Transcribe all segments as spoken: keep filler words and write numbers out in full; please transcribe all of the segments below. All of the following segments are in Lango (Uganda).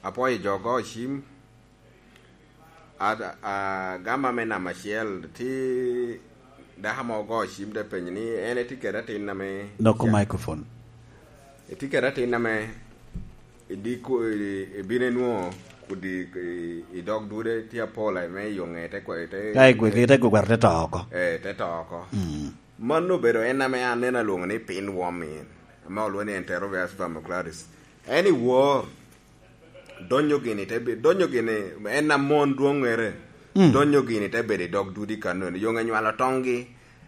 Apwoyo jo ogo cim. Agamba me namba acel, tye dako mo ogo cim te penyo ni en etye kede atin ame Loko microphone. Etye kede atin ame idiko, ibino inwoŋo kudi i dog dude tye apol ame i oŋe te kwe-, te Ka igweke te gwegwero te to oko. Eh, te to oko. Mano obedo en ame an neno alwoŋo ni pinworm en, ame olwoŋo ni Enterobius vermicularius. En i wor, donyo gini te be-, donyo gini, en amon dwoŋŋere, donyo gini te bedo i dog dudi kano, eno yoŋe nywalo toŋgi.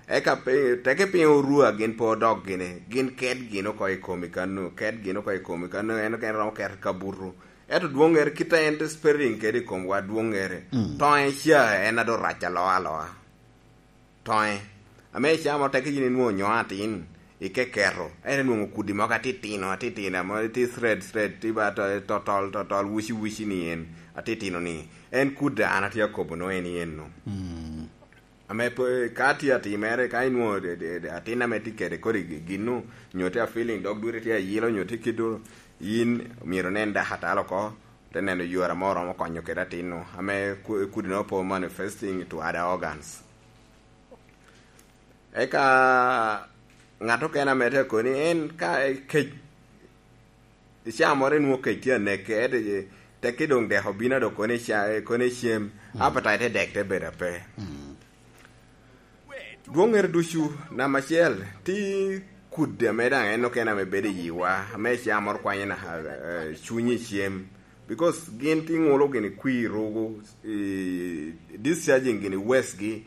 Eka pe-, teke piny orua gin pe odok gini, gin ket gin oko i komi kano, ket gin oko i komi kano, en okene romo ket kabuto. Ento dwoŋŋere kit a en te spreading kede i komwa dwoŋŋere, toŋe ca en ado rac aloa aloa. Toŋe. Ame icamo teke yin inwoŋo nyo atin, ikeketo, ento inwoŋo kudi mogo atitino, atitino, amo tye thread, thread, tye ba to-, totol, totol, wici, wici ni en, atitino ni, en kudi an atye akobo no en i eno. Ame pe-, ka tye atimere, ka inwoŋo de-, de-, de-, atin ame tye kede kodi gi-, ginnu, nyo tye a feeling, dog duri tye ayilo, nyo tye kido, yin myero inen dakatala oko, te neno yore amo oromo konyo kede atinnu, ame ku-, kudi no po manifesting to other organs. Eka ŋat okene ame te koni en ka kec, icaa moro inwoŋo kec tye aneke, ento tekki doŋ dek obino a dok koni ica-, koni icem, appetite te dek te bedo ape. Dwoŋŋere ducu, namba acel, ti kudi ame daŋ en okene ame bedo i yiwa, ame icaa moro kwanyo naka, eh, cunyi icem. Because gin ti ŋulo gini kwir rugu, i discharging gini waste gi,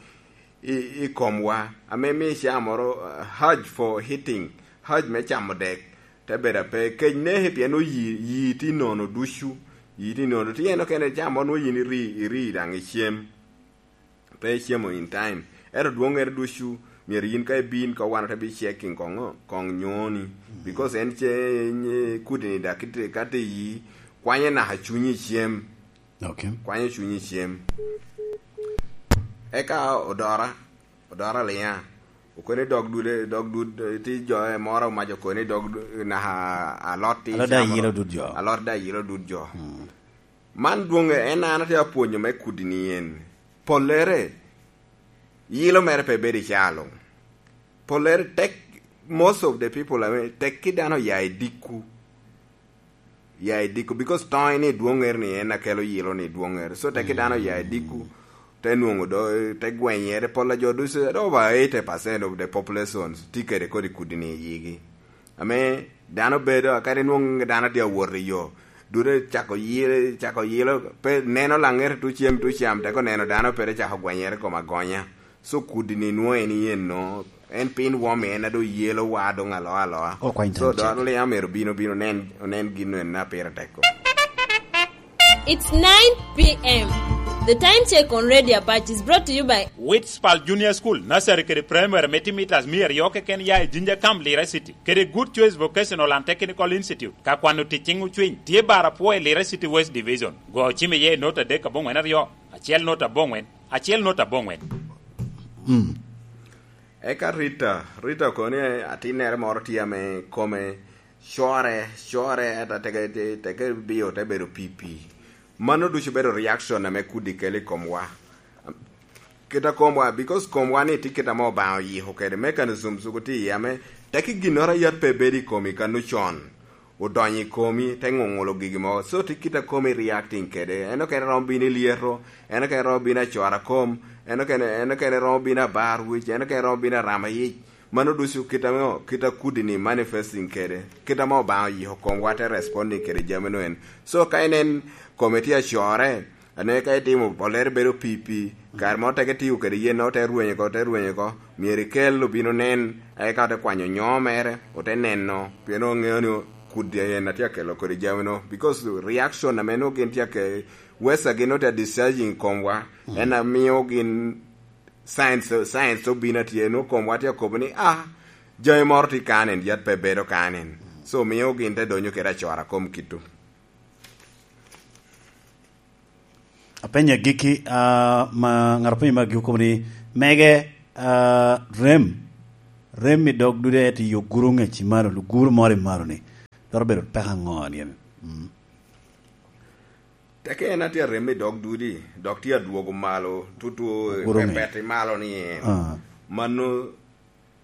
i, i komwa, ame mio icaa moro, uh, urge for eating, urge me camo dek, te bedo ape. Kec neki pien oyi, yi ti nono ducu, yi ti nono. Ti en okene icaa moro nwoŋo yin iri, iri daŋ icem. Pe icemo in time. Ento dwoŋŋere ducu, myero yin ka ibin, ka wan ote bi checking koŋo, koŋ nyoni. Because en ce, nye kudi ni dak ite-, ka te yi, kwanye naka cunyi icem. Okay. Kwanyo cunyi cem. Eka odora, odora liŋa. Okoni dog dude, dog dud, ti jo e moro omaco okoni dog du-, naka alot ti Alot da chamo. Yilo dud jo. Alot da yilo dud jo. Man dwoŋe en an atye apwonyo me kudi ni en. Pollere, yilo mere pe bedo i caa luŋ. Pollere tek, most of the people ame tek ki dano ya i dikku. Ya i dikku, because toŋe ni dwoŋere ni en akelo yilo ni dwoŋere. So, teke dano ya i dikku, te nwoŋo do, te gwenyere, pol a jo ducu, over eighty percent of the populations tye kede kodi kudi ni i yigi. Ame dano bedo, kadi nwoŋo dano tye awot i yo, dute cako yilo, cako yilo, pe neno laŋete tucem tucam, teko neno dano pe te cako gwenyere kom agonya. So kudi ni nwoŋo en yen no, en piny wom en a doŋ yelo wa doŋ aloa aloa. Okwany So tam dwaro cek. Ni amero bino bino nen, onen gin no en a pire tek ko. It's nine p m. The time check on Radio Apache is brought to you by Witspal Junior School, Nursery kede Primary me timo mitas mia aryo keken ya i Jinja Camp, Lira City, kede Good Choice Vocational and Technical Institute. Ka kwano tic cing ocwiny, tye bar apwo i Lira City West Division. Go cim iye i not adek aboŋwen aryo, acel not aboŋwen, acel not aboŋwen. Eka Rita, Rita okoni atinnere moro tye ame kome core, core, ata teke, te-, teke bio te bedo pipi. Mano ducu bedo reaction ame kudi kelo i komwa. Kit a komwa, because komwa ni tye kit ame Obaŋa oyiko kede mechanism suku tye iye ame teke ginnoro a yat pe bedo i komi kano con. Odonyo i komi, te ŋuŋulo gigi mogo. So, tye kit a komi reacting kede. En okene romo bino i lyeto, en okene romo bino acora kom, en okene, en okene romo bino abar wic, en okene romo bino arama yic. Mano ducu kit a, kit a kudi ni manifesting kede. Kit ame Obaŋa oyiko komwa te responding kede jami no en. So, ka inen kome tye acore, ane ka itimo, olere bedo pipi, kare mo teke tiyo kede yen, ote rwenyo oko, ote rwenyo oko, myero ikel obino nen, eka ote kwanyo nyo mere, ote neno, pien oŋeo ni kudi en atye akelo kodi jami no, because reaction ame nwoŋo gin tye ake, wesa gin ote discharging i komwa, en amiyo gin science, science obino atye, nwoŋo komwa tye akobo ni, ah, jami moro tye kanen, yat pe bedo kanen. So, miyo gin te donyo kede acora kom kito. Apenyo agikki, ah, ma ŋat openyo me agikki okobo ni, mege, ah, rem, rem i dog dude ento i oguro ŋec i malo, luguro moro i malo ni, twero bedo peko aŋo ni en? Mm. Teke en atye arem i dog dudi, dok tye adwogo malo, tutu i Oguruŋe. Pepet i malo ni en. Ah. Mano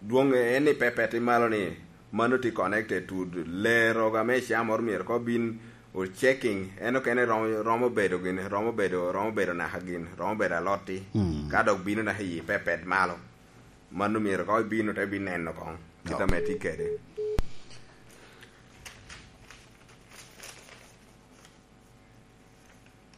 dwoŋ en ni pepet i malo ni, mano tye connected to ler oga me cam moro myero ko bin o checking, en okene romo, romo bedo gin, romo bedo, romo bedo naka gin, romo bedo alotti. Mm. Ka dok bino naka i pepet malo. Mano myero ko bino te bineno koŋ, kit Ok. Ame tye kede.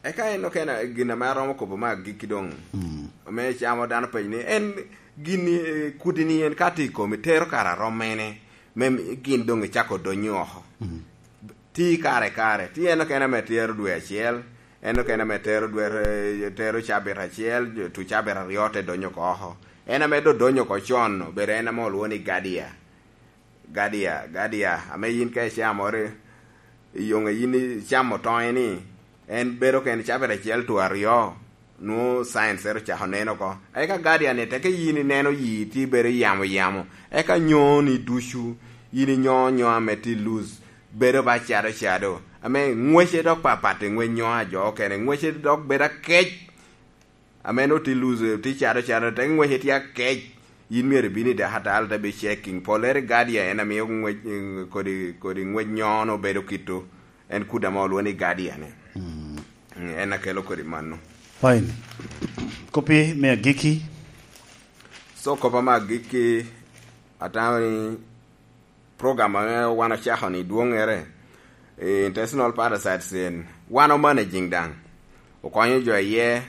Eka en okene gin ame aromo kobo me agikki doŋ. Mm. Ame camo dano penyo ni, en gin, eh, kudi ni en ka tye i komi, tero kara rom mene, me mi-, gin doŋ icako donyo oko. Mm. Ti kare kare, ti en okene ame tero dwe acel, en okene ame tero dwe, eh, tero cabit acel, tu cabit aryo te donyo oko oko. En ame do donyo oko con, obedo en ame olwo ni Gadia. Gadia, Gadia, ame yin ka icamo ri, i yoŋe yin icamo toŋe ni, en bedo ken cabit acel to aryo, nwoŋo science ero ocako neno oko. Eka Gadia ni, teke yin ineno yi ti bedo yamo yamo, eka nyoni ducu, yin inyo nyo ame ti lose, bedo ba cado cado, ame ŋwece dok papat i ŋwec nyo a jo okene, ŋwece dok bedo akec. Ame no ti luzo, ti cado cado, te ŋwece tye akec. Yin myero ibin i dakatalo te bi checking. Pollere Guardia en amiyo ŋwec, kodi, kodi ŋwec nyono bedo kito. En kuda ma olwo ni Guardia ni. Mm. Mm, en akelo kodi mano. Fine. Kopi me agikki? So, kopa me agikki, atamo ni program ame wan ocako ni dwoŋŋere, eh, intestinal parasites en, wan o managing daŋ. Okonyo jo iye.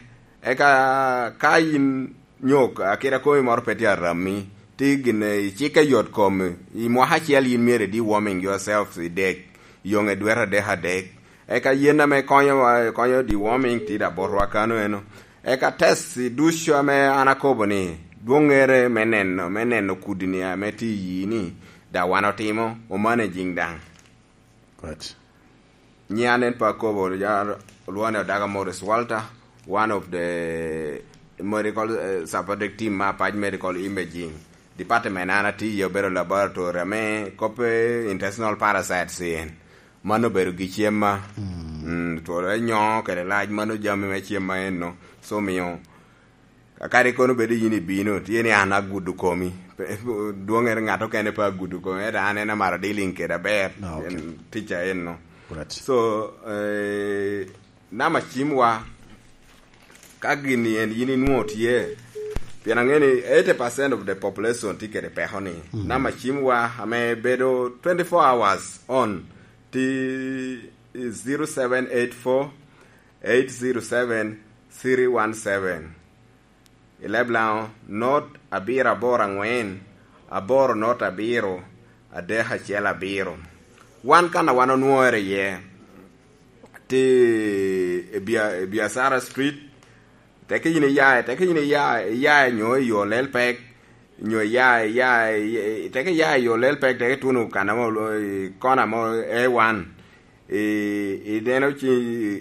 Eka ka yin nyok, akita komi moro pe tye arammi, ti gin icikke yot komi, i mwaka acel yin myero i deworming yourself i dek, yoŋe dwete adek adek. Eka yen ame konyo, konyo deworming ti da botwa kano eno. Eka test ducu ame an akobo ni, dwoŋŋere me neno, me neno kudi ni ame tye i yi ni, da wan otimo, o managing daŋ. Right. Nyian en pa akobo, ya, olwone Odaga Morris Walter, one of the medical, eh, supporting team me Apac Medical Imaging. Department an atiye obedo laboratory ame koppe intestinal parasites en. Mano obedo gi cemma. Mm. Mm, twolo enyo kede lac, mano jami me cemma eno. So, miyo, kadi kono bedo yin ibino, tye ni an agudo komi. Pe-, dwoŋŋere ŋat okene pe agudo komi, ento an en amaro dealing kede aber. Ah, okay. En ticca eno. Right. So, eh, nama cimwa, ka gini en yin inwoŋo tye, pien aŋeo ni eighty percent of the population tye kede peko ni. Mm. Nama cimwa ame bedo twenty-four hours on, ti zero seven eight four, eight zero seven, three one seven. I leb Laŋo, not abiro aboro aŋwen, aboro not abiro, adek acel abiro. Wan kan a wan onwoŋere iye, ti i Bia-, i Biacara Street, teke yin iya, teke yin iya, iya nyo i yo lel pek, nyo iya, iya, iya, teke iya i yo lel pek, teke tuno kan amo, i kona mo A one. I, i neno ci,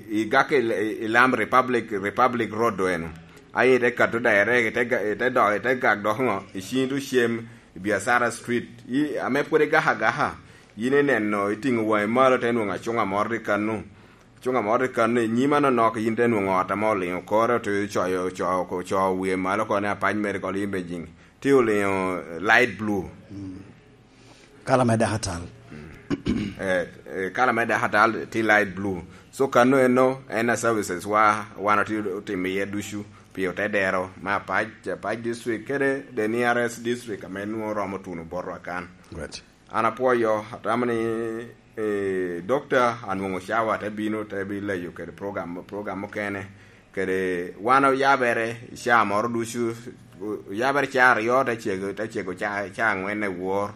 i gak i, i, i lam Republic, Republic Road do eno. Aye ite kato direct, ite ga-, ite dok, ite gak dok ŋo, i cini du cem, i Biacara Street. I, ame pwod igaka agaka, yin ineno, itiŋo waŋi malo, te nwoŋo acuŋa moro tye kanu. Acuŋa moro tye kanu, i nyima nonok, yin te nwoŋo ot ame oliŋo kore, ote coyo, co-, co-, co wie malo kono ni Apac Medical Imaging. Tye oliŋo light blue. Mm. Kala me dakatal. Eh, eh, kala me dakatal tye light blue. So, kano eno, en a services wa, wan otye otimo iye ducu, pi ote dero, me Apac, Apac District, kede the nearest district ame nwoŋo romo tuno botwa kan. Right. An apwoyo, atamo ni, eh, Dokta anwoŋo cawa te bino, te bileyo kede program, program mukene, kede wan oyabere, ca moro ducu, oyabere ca aryo, te cego, te cego ca, ca aŋwen i wor.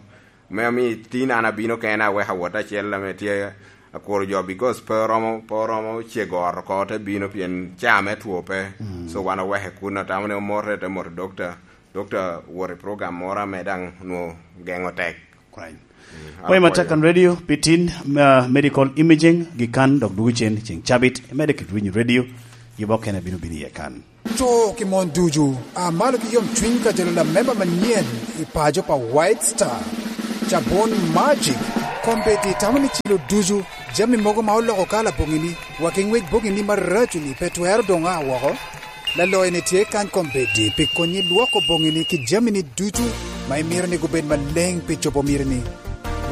Me omi tin an abino kena, aweko awot acel ame tye akuro jo, because pe oromo, pe oromo cego ot oko, te bino pien ca me two pe. Mm. So wan oweke kun, atamo ni omote, te moto Dokta. Dokta wot i program moro ame daŋ nwoŋo geŋo tek. Kwany. Mm, Pwony apwoyo. Matek kan radio, pi tin, uh, medical imaging, gi kan dok dugo cen ceng cabit, imede kit winyo radio, yubo kene bino bino iye kan. To ki mon ducu, a malo ki yom cwiny ka jalo lamemba manyen i paco pa White Star, Cabon Magic, kombeddi tamo ni cilo ducu Jami mogo ma oloko kala boŋini, wa ki ŋwec boŋini maraco-ni pe twero doŋ a woko. Laloyo-ni tye kany kombeddi pi konyi lwoko boŋini ki jamini ducu ma imito ni gubed maleŋ pi cobo mitini.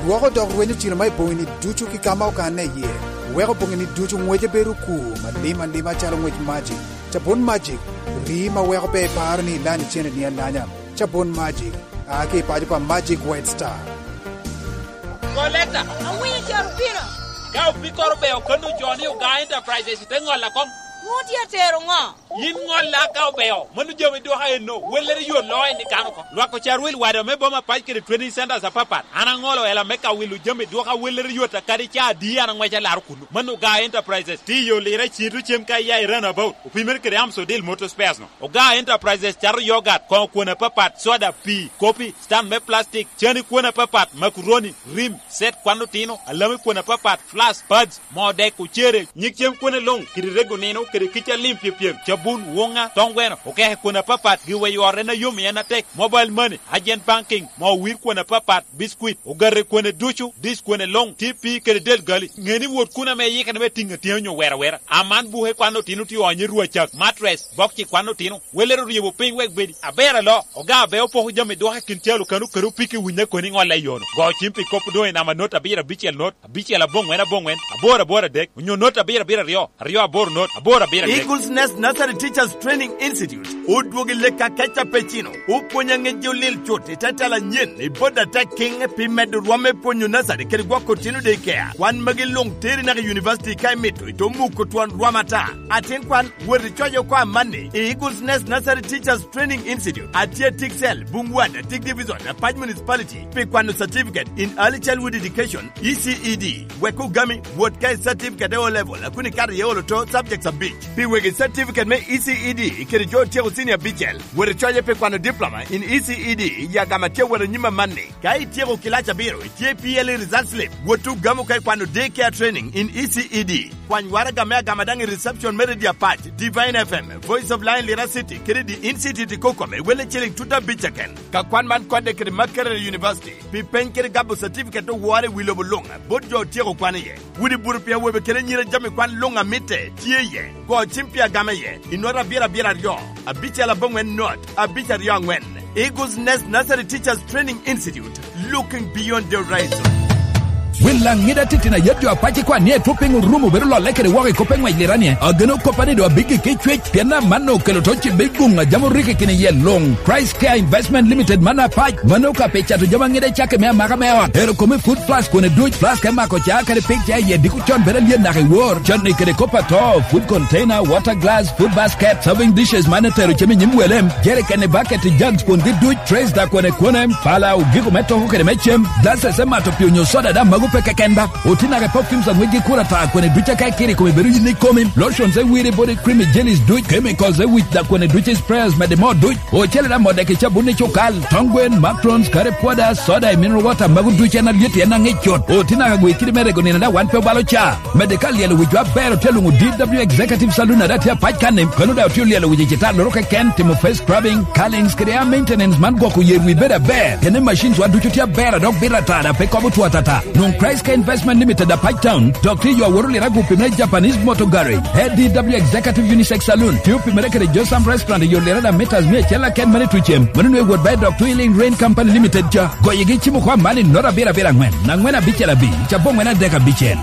Lwoko dok rwenyo cilo ma i boŋini ducu ki ka ma okanne iye. Weko boŋini ducu ŋwece bedo okur malim alima calo ŋwec magic. Cabun magic, rii ma weko pe iparo ni ilanyo ceneni alanya. Cabun magic, a ki i paco pa Magic White Star. Koleta. Awinyo caro pino. Ka opikkoro beo kono jo ni Oga Enterprises te ŋolla koŋ. Ŋo tye atero ŋo? Yin ŋolla ka obeo, mano jami dwoka enno, wellere yo lo en i kano ko. Lwak ocar wil wada me boma pac kede training centers apapat. An aŋolo ela me ka wilo jami dwoka wellere yot a kadi ca adi an aŋweca laro kuno. Mano Oga Enterprises, tiyo lira cito cem ka iya i runabout. Opimere kede Amsodil Motor Spares no. Oga Enterprises cato yogat, koŋo kwon apapat, soda, pii, kopi, stand me plastic, cani kwon apapat, makuroni, rim, set kwan otino, alami kwon apapat, flask, pads, moo dek, ocere, nyig cem kwone luŋ, kede rego nino, kede kica lim pyepyem, cabun, woŋa, toŋ gweno, okeke kwon apapat, giweyo ot en a yom i en atek, mobile money, agent banking, moo wir kwon apapat, biscuit, ogate kwone ducu, dis kwone luŋ, T P kede del gali. Ŋe ni wot kun ame iyikere me tiŋ atyeni onyo wero awera. Aman buke kwan otino tye onyo rwacak, mattress, bokci kwan otino. Welere oryebo piny wek bedi aber alo. Oga abe opoko jami dwoke kin calo kano kede opiki winye koni ŋolle i yono. Go cim pi kop doŋ i namba not abiro abicel not, abicel aboŋwen aboŋwen, aboro aboro adek, onyo not abiro abiro aryo, aryo aboro not, aboro abiro adek. Eagles Nest Nursery Teachers Training Institute odwogo i lek akeca pe cino. Opwonyo aŋec jo lil cut i te tela anyen i bot atek kiŋ pi medo rwom me pwonyo nursery kede gwoko otino daycare. Kwan magi luŋ teri naka i university ka imito, ito muko twon rwom ata. Atin kwan, wot icoc oko amanni i Eagles Nest Nursery Teachers Training Institute, atye Tiksel, Bungwada, Tik Division, Apac Municipality, pi kwano certificate in early childhood education, E C E D. Wek ogami, wot ka i certificate e O level, a kun ikato iye olo to subjects abic. Pi wegi certificate me E C E D kede jo otyeko senior abicel, wot icoye pi kwano diploma in E C E D i agama tye awot anyim amanni. Ka ityeko kilac abiro, itye P L E result slip, wot ogamo ka ikwano day care training in E C E D. Kwany waraga me agama daŋ i reception me Radio Apac, Divine F M, Voice of Lion Lira City, kede The Institute i Kokome, welle ciling tut abic keken. Ka kwan man kodde kede Makerere University, pi peny kede gabo certificate owore i wi lobo luŋ, bot jo otyeko kwan iye. Wudi buru pi awobe kede anyira jami kwan luŋ a mitte tye iye. Go cim pi agama iye, i not abiro abiro aryo, abicel aboŋwen not, abic aryo aŋwen. Eagles Nest Nursery Teachers Training Institute, looking beyond the horizon. Wil Laŋida titino ayet jo apac i kwan ni etwop piny orumo bedo lolle kede woko i kop eŋwec liranie. Ageno koppa ni doŋ abiggi ki cwec, pien amanno okelo to ci bed guŋ a jam orikki kini iye luŋ. Christ Care Investment Limited man apac, mano ka pi cato jami aŋida i cakki me amaka me ot. Ero kome food flask kone duc, flask me mako ca kadi pig ca iye diko con bedo alyet naka i wor. Canni kede kop ato, food container, water glass, food basket, serving dishes man etero cem i nyim welem, jerikeni, baketi, jugs kwongi duc, trays da kwene kwene, pala, ogiko me toko kede me cem, glasses me mato pi onyo soda da mago pe keken ba. Oti naka i perfumes aŋwec gi kura ta kwene duc aka ikiri kome bedo yin ikomi, lotions e wiri body cream i jellies duc, chemicals e wic da kwene duc i sprayers mede mo duc. Ocele da modde ki cabun i cukal, tong gwen, matrons, kare pwoda, soda i mineral water mago duc en alyet en aŋic cut. Oti naka gwe kidi me rego nino da wan pe obalo ca. Mede ka lyelo wic jo aber otye luŋo D W Executive Saloon ada tye apac kanni, kano da otye olyelo wic i cita loro keken, timo face scrubbing, curlings kede hair maintenance man gwoko yer wi bedo aber. Kene machines wa ducu tye aber a dok bito atara pe kobo two atata. Nwoŋ Christ Care Investment Limited apac town, dok tye yo aworo lira gupi me Japanese Motor Garage. A D W Executive Unisex Saloon, tye opimere kede Josam Restaurant i yo lira da meters mia acel aken mane tucem. Mano nwe wot ba i dok Twilling Rain Company Limited ca. Goyegi cimo kwa mani not abiro abiro aŋwen, aŋwen abicel abic, cabo ŋwen adek abicel.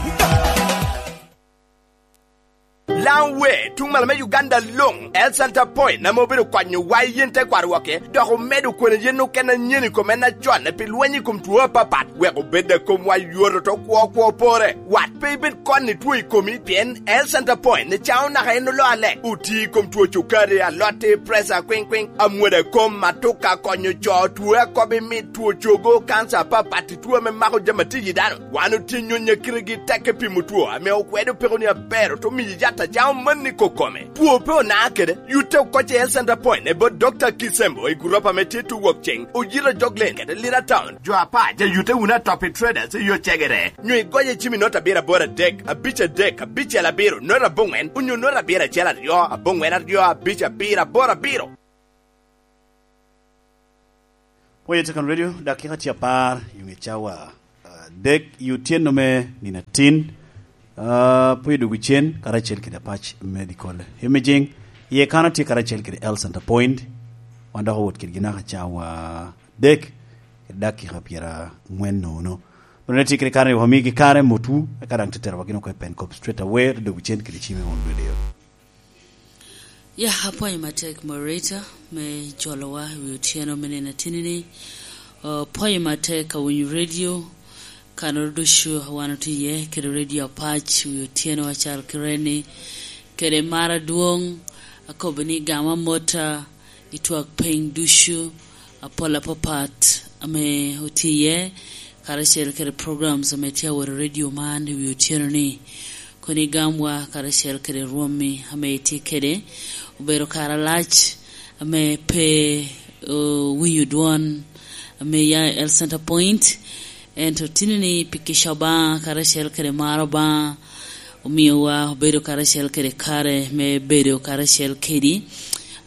Laŋ we, tuŋ malo me Uganda luŋ, El Center Point ame obedo konyo wa i yen te kwaro woke, dok omedo kwene yen okene anyen i kom en acon pi lweny i kom two apapat, wek obed a komwa yoto to kwo kwo pore. Wat pe ibed kon i two i komi, pien El Center Point ni caŋo naka en olo alek, oti i kom two cukari, alotti, presa, kwiŋ kwiŋ, amwoda kom, matuka, konyo co, two akobi mit, two cogo, kansa apapat, two ame mako jami atiyi dano. Wan otye nyonyo akitegi tek i pimo two ame okwedo peko ni aber, oto miyi yat a caŋo manni kokome. Two pe ona kede, yute okoc i Health Center Point i bot Doctor Kisembo i guropa ame tye tuwok ceŋ, oyito Joglen kede Lira Town. Jo apac a yute wunu atop i Traders i yo cegere. Nyo igoye cim i not abiro aboro adek, abic adek, abicel abiro, not aboŋwen, onyo not abiro acel aryo, aboŋwen aryo, abic abiro, aboro abiro. Pwonye Tekan Radio, dakika tye apar i ŋe cawa adek i otyeno me nino atin. Ah, pwod odwogo cen karacel kede Apac Medical Imaging. Iye kan otye karacel kede Health Center Point. Wan dok owot kedgi naka cawa adek kede dakika pyerangwen nono. Bene tye kede kare ni wamigi kare motwu, eka daŋ te tero wa gin oko i Pencop straight away, te dwogo cen kede cime won lwedeo. Ya, apwoyo matek moderator me jolowa i wi otyeno me nino atini-ni. Apwoyo matek awinyo redio, kanoro ducu a wan otye iye, kede redio Apac i wi otyeno acal kire-ni, kede mar adwoŋ, akobo ni gam amota i twak piny ducu, apol apapat ame otye iye, karacel kede programs ame tye awot i redio man i wi otyeno-ni. Kono igamwa karacel kede rwommi ame itye kede, obedo kare alac ame pe owinyo dwon ame ya i Health Center Point. Ento tini-ni pi kica Obaŋa karacel kede mar Obaŋa omiowa obedo karacel kede kare me bedo karacel kedi,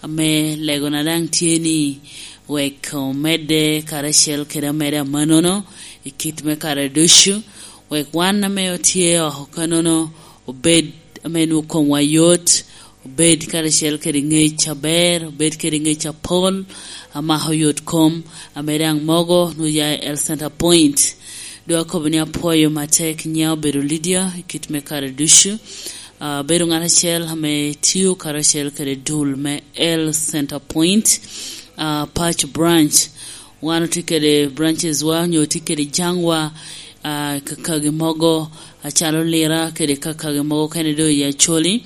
ame legona daŋ tye ni wek omedde karacel kede amedde amanono i kit me kare ducu, wek wan ame otye oko kanono obed ame nwoŋo komwa yot, obed karacel kede ŋec aber, obed kede ŋec apol, amako yot kom, ame daŋ mogo nwoŋo ya i Health Center Point. Dok akobo ni apwoyo matek, nyiŋa obedo Lydia i kit me kare ducu. Ah, abedo ŋat acel ame tio karacel kede dul me Health Center Point, ah, Apac Branch. Wan otye kede branches wa, onyo otye kede jaŋwa, ah, kakagi mogo, acalo Lira, kede kakagi mogo kene do i Acholi.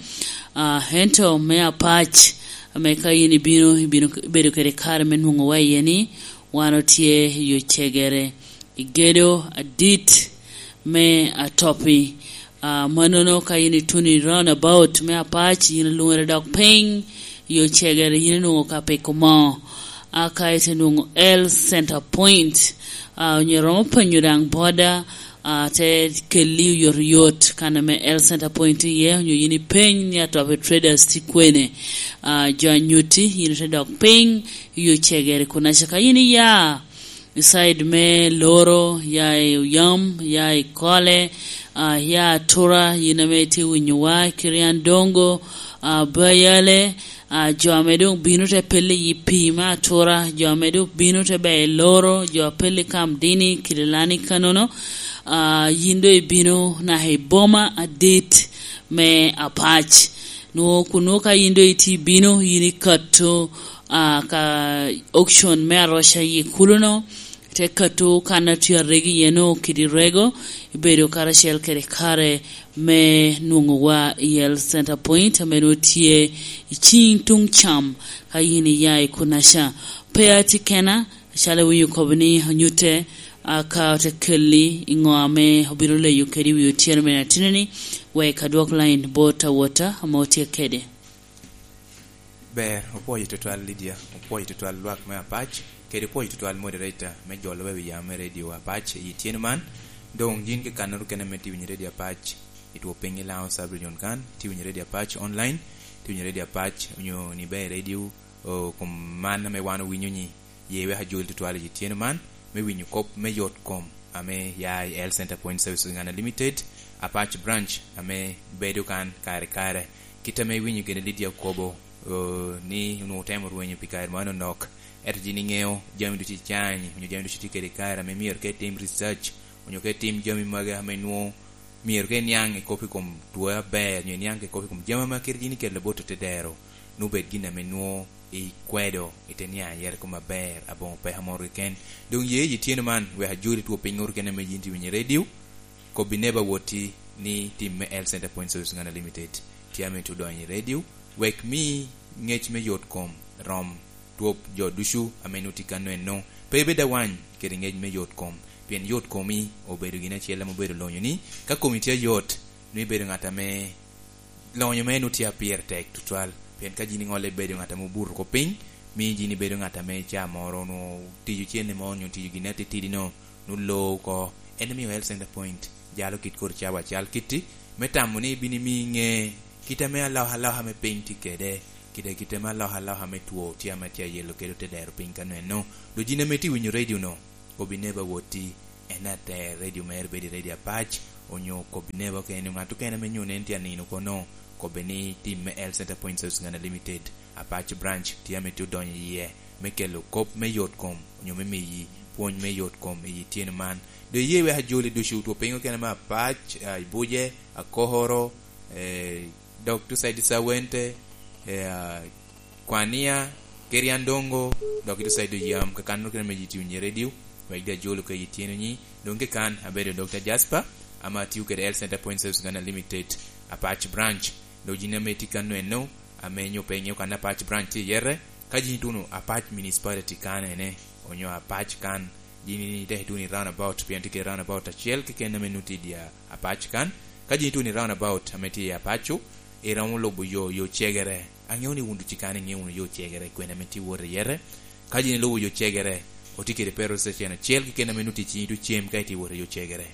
Ah, ento me Apac, ame ka in ibino, ibino bedo kede kare me nwoŋo wa iye ni, wan otye i Ocegere, i gedo adit me Atopi. Ah, manono ka in ituno i roundabout me Apac, in ilwongere dok piny i Ocegere, in inwoŋo ka piko moo. A ka ite nwoŋo Health Center Point, ah, onyo iromo penyo daŋ boda, ah, te kelli oyotoyot kan ame Health Center Point tye iye, onyo in ipeny ni Atopi Traders tye kwene, ah, jo anyutti, in ite dok piny i Ocegere kunaca. Ka in iya i side me Loro, ya i Oyam, ya i Kole, ah, ya Atura, yin ame itye winyowa, Kirian Dongo, ah, Bayale, ah, jo ame doŋ bino te pelle i pii me Atura, jo ame doŋ bino te bea i Loro, jo a pelle i Kamdini, Kililani kanono, ah, yin doŋ ibino naka i boma adit me Apac. Nwoŋo kun nwoŋo ka yin doŋ itye ibino, yin ikato, ah, ka auction me aroca i kuluno, te kato kan a tye arego iye-nu kede rego, ibedo karacel kede kare me nwoŋo wa i Health Center Point, ame nwoŋo tye i cing tuŋ cam, ka yin iya i kunaca. Pe atye kena, acalo iwinyo kobo ni onyutte, a, ka ote kelli i ŋo ame obino leyo kede i wi otyeno me atino-ni, wek adwok line bot awota ame otye kede. Ber, opwoyo tutwal Lydia, opwoyo tutwal lwak me Apac, kede opwoyo tutwal moderator me jolo wa i wi yam me radio Apac i tyeno man. Doŋ yin kekannoro kene ame tye winyo radio Apac i two piny i Laŋo Sub Region kan, tye winyo radio Apac online, tye winyo radio Apac onyo ni bea i radio, o, kom man ame wan owinyo ni ye wek ajol tutwal i tyeno man, me winyo kop me yot kom ame ya i Health Center Point Services Uganda Limited, Apac Branch, ame bedo kan kare kare. Kit ame iwinyo gene Lydia okobo, o, ni onwoŋo otemo rwenyo pi kare mano nok, ento yin iŋeo jami ducu icany, onyo jami ducu tye kede i kare ame myero ka itim research, onyo ka itim jami magi ame nwoŋo myero ka iniaŋ i kop i kom two aber, onyo iniaŋ i kop i kom jami ame kite yin ikelo bot otedero, nwoŋo bed gin ame nwoŋo ikwedo, ite niaŋ yero kom aber, aboŋo peka moro keken. Doŋ ye i tyeno man, wek ajoli two piny ŋor kene ame yin tye winyo i radio, kobbi neba wotti ni tim me Health Center Point Service Uganda Limited tye ame tye odonyo i radio, wek mi ŋec me yot kom rom twop jo ducu ame nwoŋo tye kano eno. Pe ibed awany kede ŋec me yot kom, pien yot komi obedo gin acel ame obedo lonyo ni, ka komi tye ayot, nwoŋo ibedo ŋat ame lonyo mere nwoŋo tye a pire tek tutwal, pien ka yin iŋolle ibedo ŋat ame obuto oko piny, miyo yin ibedo ŋat ame ca moro onwoŋo tijo cene mo onyo tijo gin atitidi-no, nwoŋo loo oko. En omio Health Center Point jalo kit kor cawa cal kitti, me tamo ni bino imiyo iŋe kit ame alokaloka me piny tye kede, kede kit ame alokaloka me two tye ame tye ayelo kede otedero piny kano eno. Doŋ yin ame itye winyo radio-no, kobbi neba wotti, en ater radio mere bedo i Radio Apac, onyo kobbi neba okene, onyo ngat okene ame nyone en tye anino kono, kobbe ni tim me Health Center Point Service Uganda Limited, Apac Branch, tye ame tye odonyo iye me kelo kop me yot kom, onyo me miyi pwony me yot kom i tyeno man. Doŋ iye wek ajoli ducu, two piny okene me Apac, ah, Ibuje, Akohoro, eh, dok two side Sawente, eh, ah, Kwania, Keriandongo, dok two side Oyam, kakan okene me YouTube nye radio, wek doŋ ajolo ka i tyeno ni. Doŋ kekan, abedo Doctor Jasper, ama atio kede Health Center Point Service Uganda Limited, Apac Branch. Doŋ yin ame itye kan eno, ame nyo pe iŋeo kan Apac Branch tye iye, ka yin ituno Apac Municipality kan ene, onyo Apac kan, yin itek ituno i roundabout, pien tye kede roundabout acel keken ame nut tye i dye Apac kan. Ka yin ituno i roundabout ame tye i Apaco, iromo lubo yo, yo cegere. Aŋeo ni wun ducu kan iŋeo wunu yo cegere, kwene ame tye wot iye. Ka yin ilubo yo cegere, otye kede petrol station acel keken ame nut tye i cinyi tucem ka itye wot i yo cegere.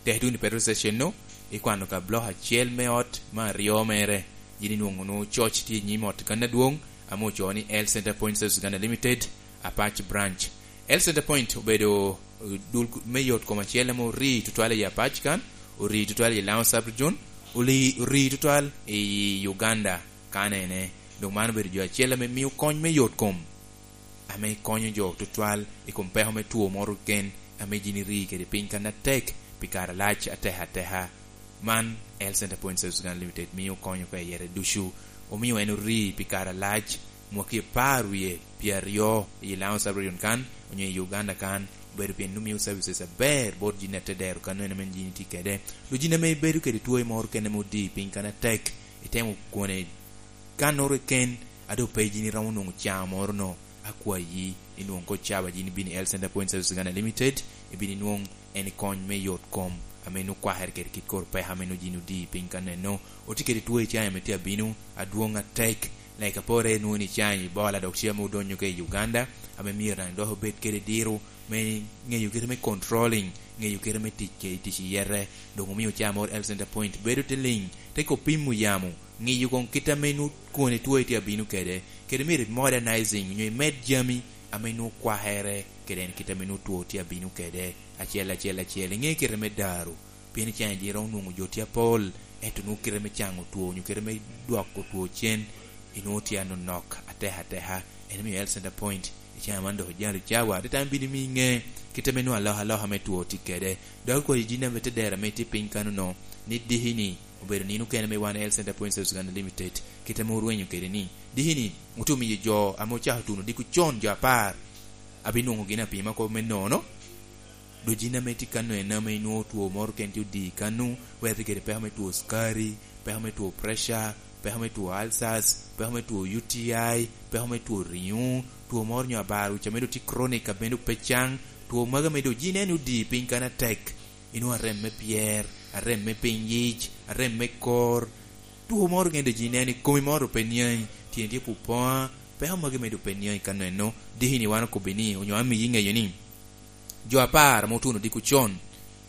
Tek ituno i petrol station-nu, ikwano ka block acel me ot me aryo mere, yin inwoŋo wunu coc tye i nyim ot kan adwoŋ, ame ocoo ni Health Center Point Service Uganda Limited, Apac Branch. Health Center Point obedo, eh, dul me yot kom acel ame orii tutwal i Apac kan, orii tutwal i Lango Sub-Region, oli-, orii tutwal i Uganda kan ene. Doŋ man obedo jo acel ame mio kony me yot kom, ame konyo jo tutwal i kom peko me two moro keken ame yin irii kede piny kan atek pi kare alac ateka ateka. Man Health Center Point Service Uganda Limited mio konyo ka i yere ducu. Omio en orii pi kare alac, mwaki apar wie pyeraryo i Lango Sub-Region kan, onyo i Uganda kan, obedo pien omio services aber bot yin atedero kan eno ame yin itye kede. Doŋ yin ame ibedo kede two moro keken ame odii piny kan atek, itemo kwone Kannoro keken, a doŋ pe yin iromo nwoŋo cawa moro no, akwayi, inwoŋ ko cawa yin ibino i Health Center Point Service Uganda Limited, ibino inwoŋ en kony me yot kom, ame nwoŋo kwakere kede kit kor peko ame nwoŋo yin odii piny kan eno. Otye kede two icaŋ ame tye abino, adwoŋ atek, like apore nwoŋo ni icaŋ Ebola dok tye ame odonyo ka i Uganda, ame myero daŋ dok obed kede diro, me ŋeyo kite me controlling, ŋeyo kite me tic kede tic i yete. Doŋ omio cawa moro Health Center Point bedo te liŋ, te ko pimo yamo, ŋeyo koŋ kit ame nwoŋo kwone two tye abino kede, kede myero i modernizing, onyo imed jami ame nwoŋo kwakere kede en kit ame nwoŋo two tye abino kede, acel, acel, acel. Iŋe kite me daru, pien icaŋ yin iromo nwoŋo jo tye apol, ento nwoŋo kite me caŋo two, onyo kite me dwoko two cen, inwoŋo tye anonok ateka ateka. En omio Health Center Point, icaŋ man dok ojalo cawa, ateta me bino miyi ŋe kit ame nwoŋo alokaloka me two tye kede. Dok akwayo yin ame te dero ame itye piny kano no, ni diki ni, obedo nino kene me wan Health Center Point Service Uganda Limited, kit ame orwenyo kede ni, diki ni, otuno miyo jo ame ocako tuno odiko con, jo apar, abinwoŋo gin apima kop me nono. Doŋ yin ame tye kano en ame inwoŋo two moro keken tye odii kano, wek itye kede peko me two cukari, peko me two pressure, peko me two ulcers, peko me two U T I, peko me two riŋo, two moro nyo abaro, ca me doŋ tye chronic, a bene doŋ pe caŋ, two magi ame doŋ yin en odii piny kano atek. Inwoŋo arem me pyer, arem me piny yic, arem me kor. Two moro gen doŋ yin en i komi moro doŋ pe niaŋi, tyeni tye pupoŋa, peko magi me doŋ pe niaŋi kano eno, diki ni wan okobbi ni, onyo amiyi ŋeyo ni, jo apar ame otuno odiko con,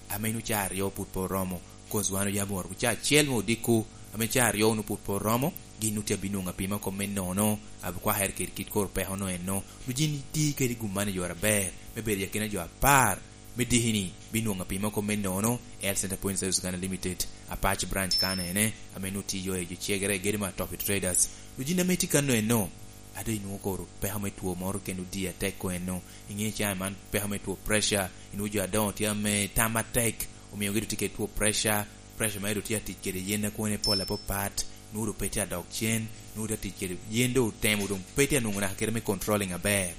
ame nwoŋo ca aryo pwod pe oromo, cause wan oyabo woro ca acel me odiko, ame ca aryo nwoŋo pwod pe oromo, gin nwoŋo tye abinwoŋo apima kop me nono, abikwakere kede kit kor peko no eno. Doŋ yin iti kede gum man i yore aber, me bedo i akina jo apar, me diki ni, binwoŋo apima kop me nono, Health Center Point Service Uganda Limited, Apac Branch kan ene, ame nwoŋo tiyo i jo cegere, gedo me Atop Traders. Doŋ yin ame itye kano eno, a doŋ inwoŋo koro peko me two moro keken odii atek ko eno, iŋe cawa man peko me two pressure, inwoŋo jo adoŋo tye ame tam atek, omio gi doŋ tye kede two pressure, pressure mere doŋ tye atic kede yen a kwone pol apapat, nwoŋo doŋ pe tye adok cen, nwoŋo tye atic kede yen doŋ otemo doŋ pe tye anwoŋo naka kite me controlling aber.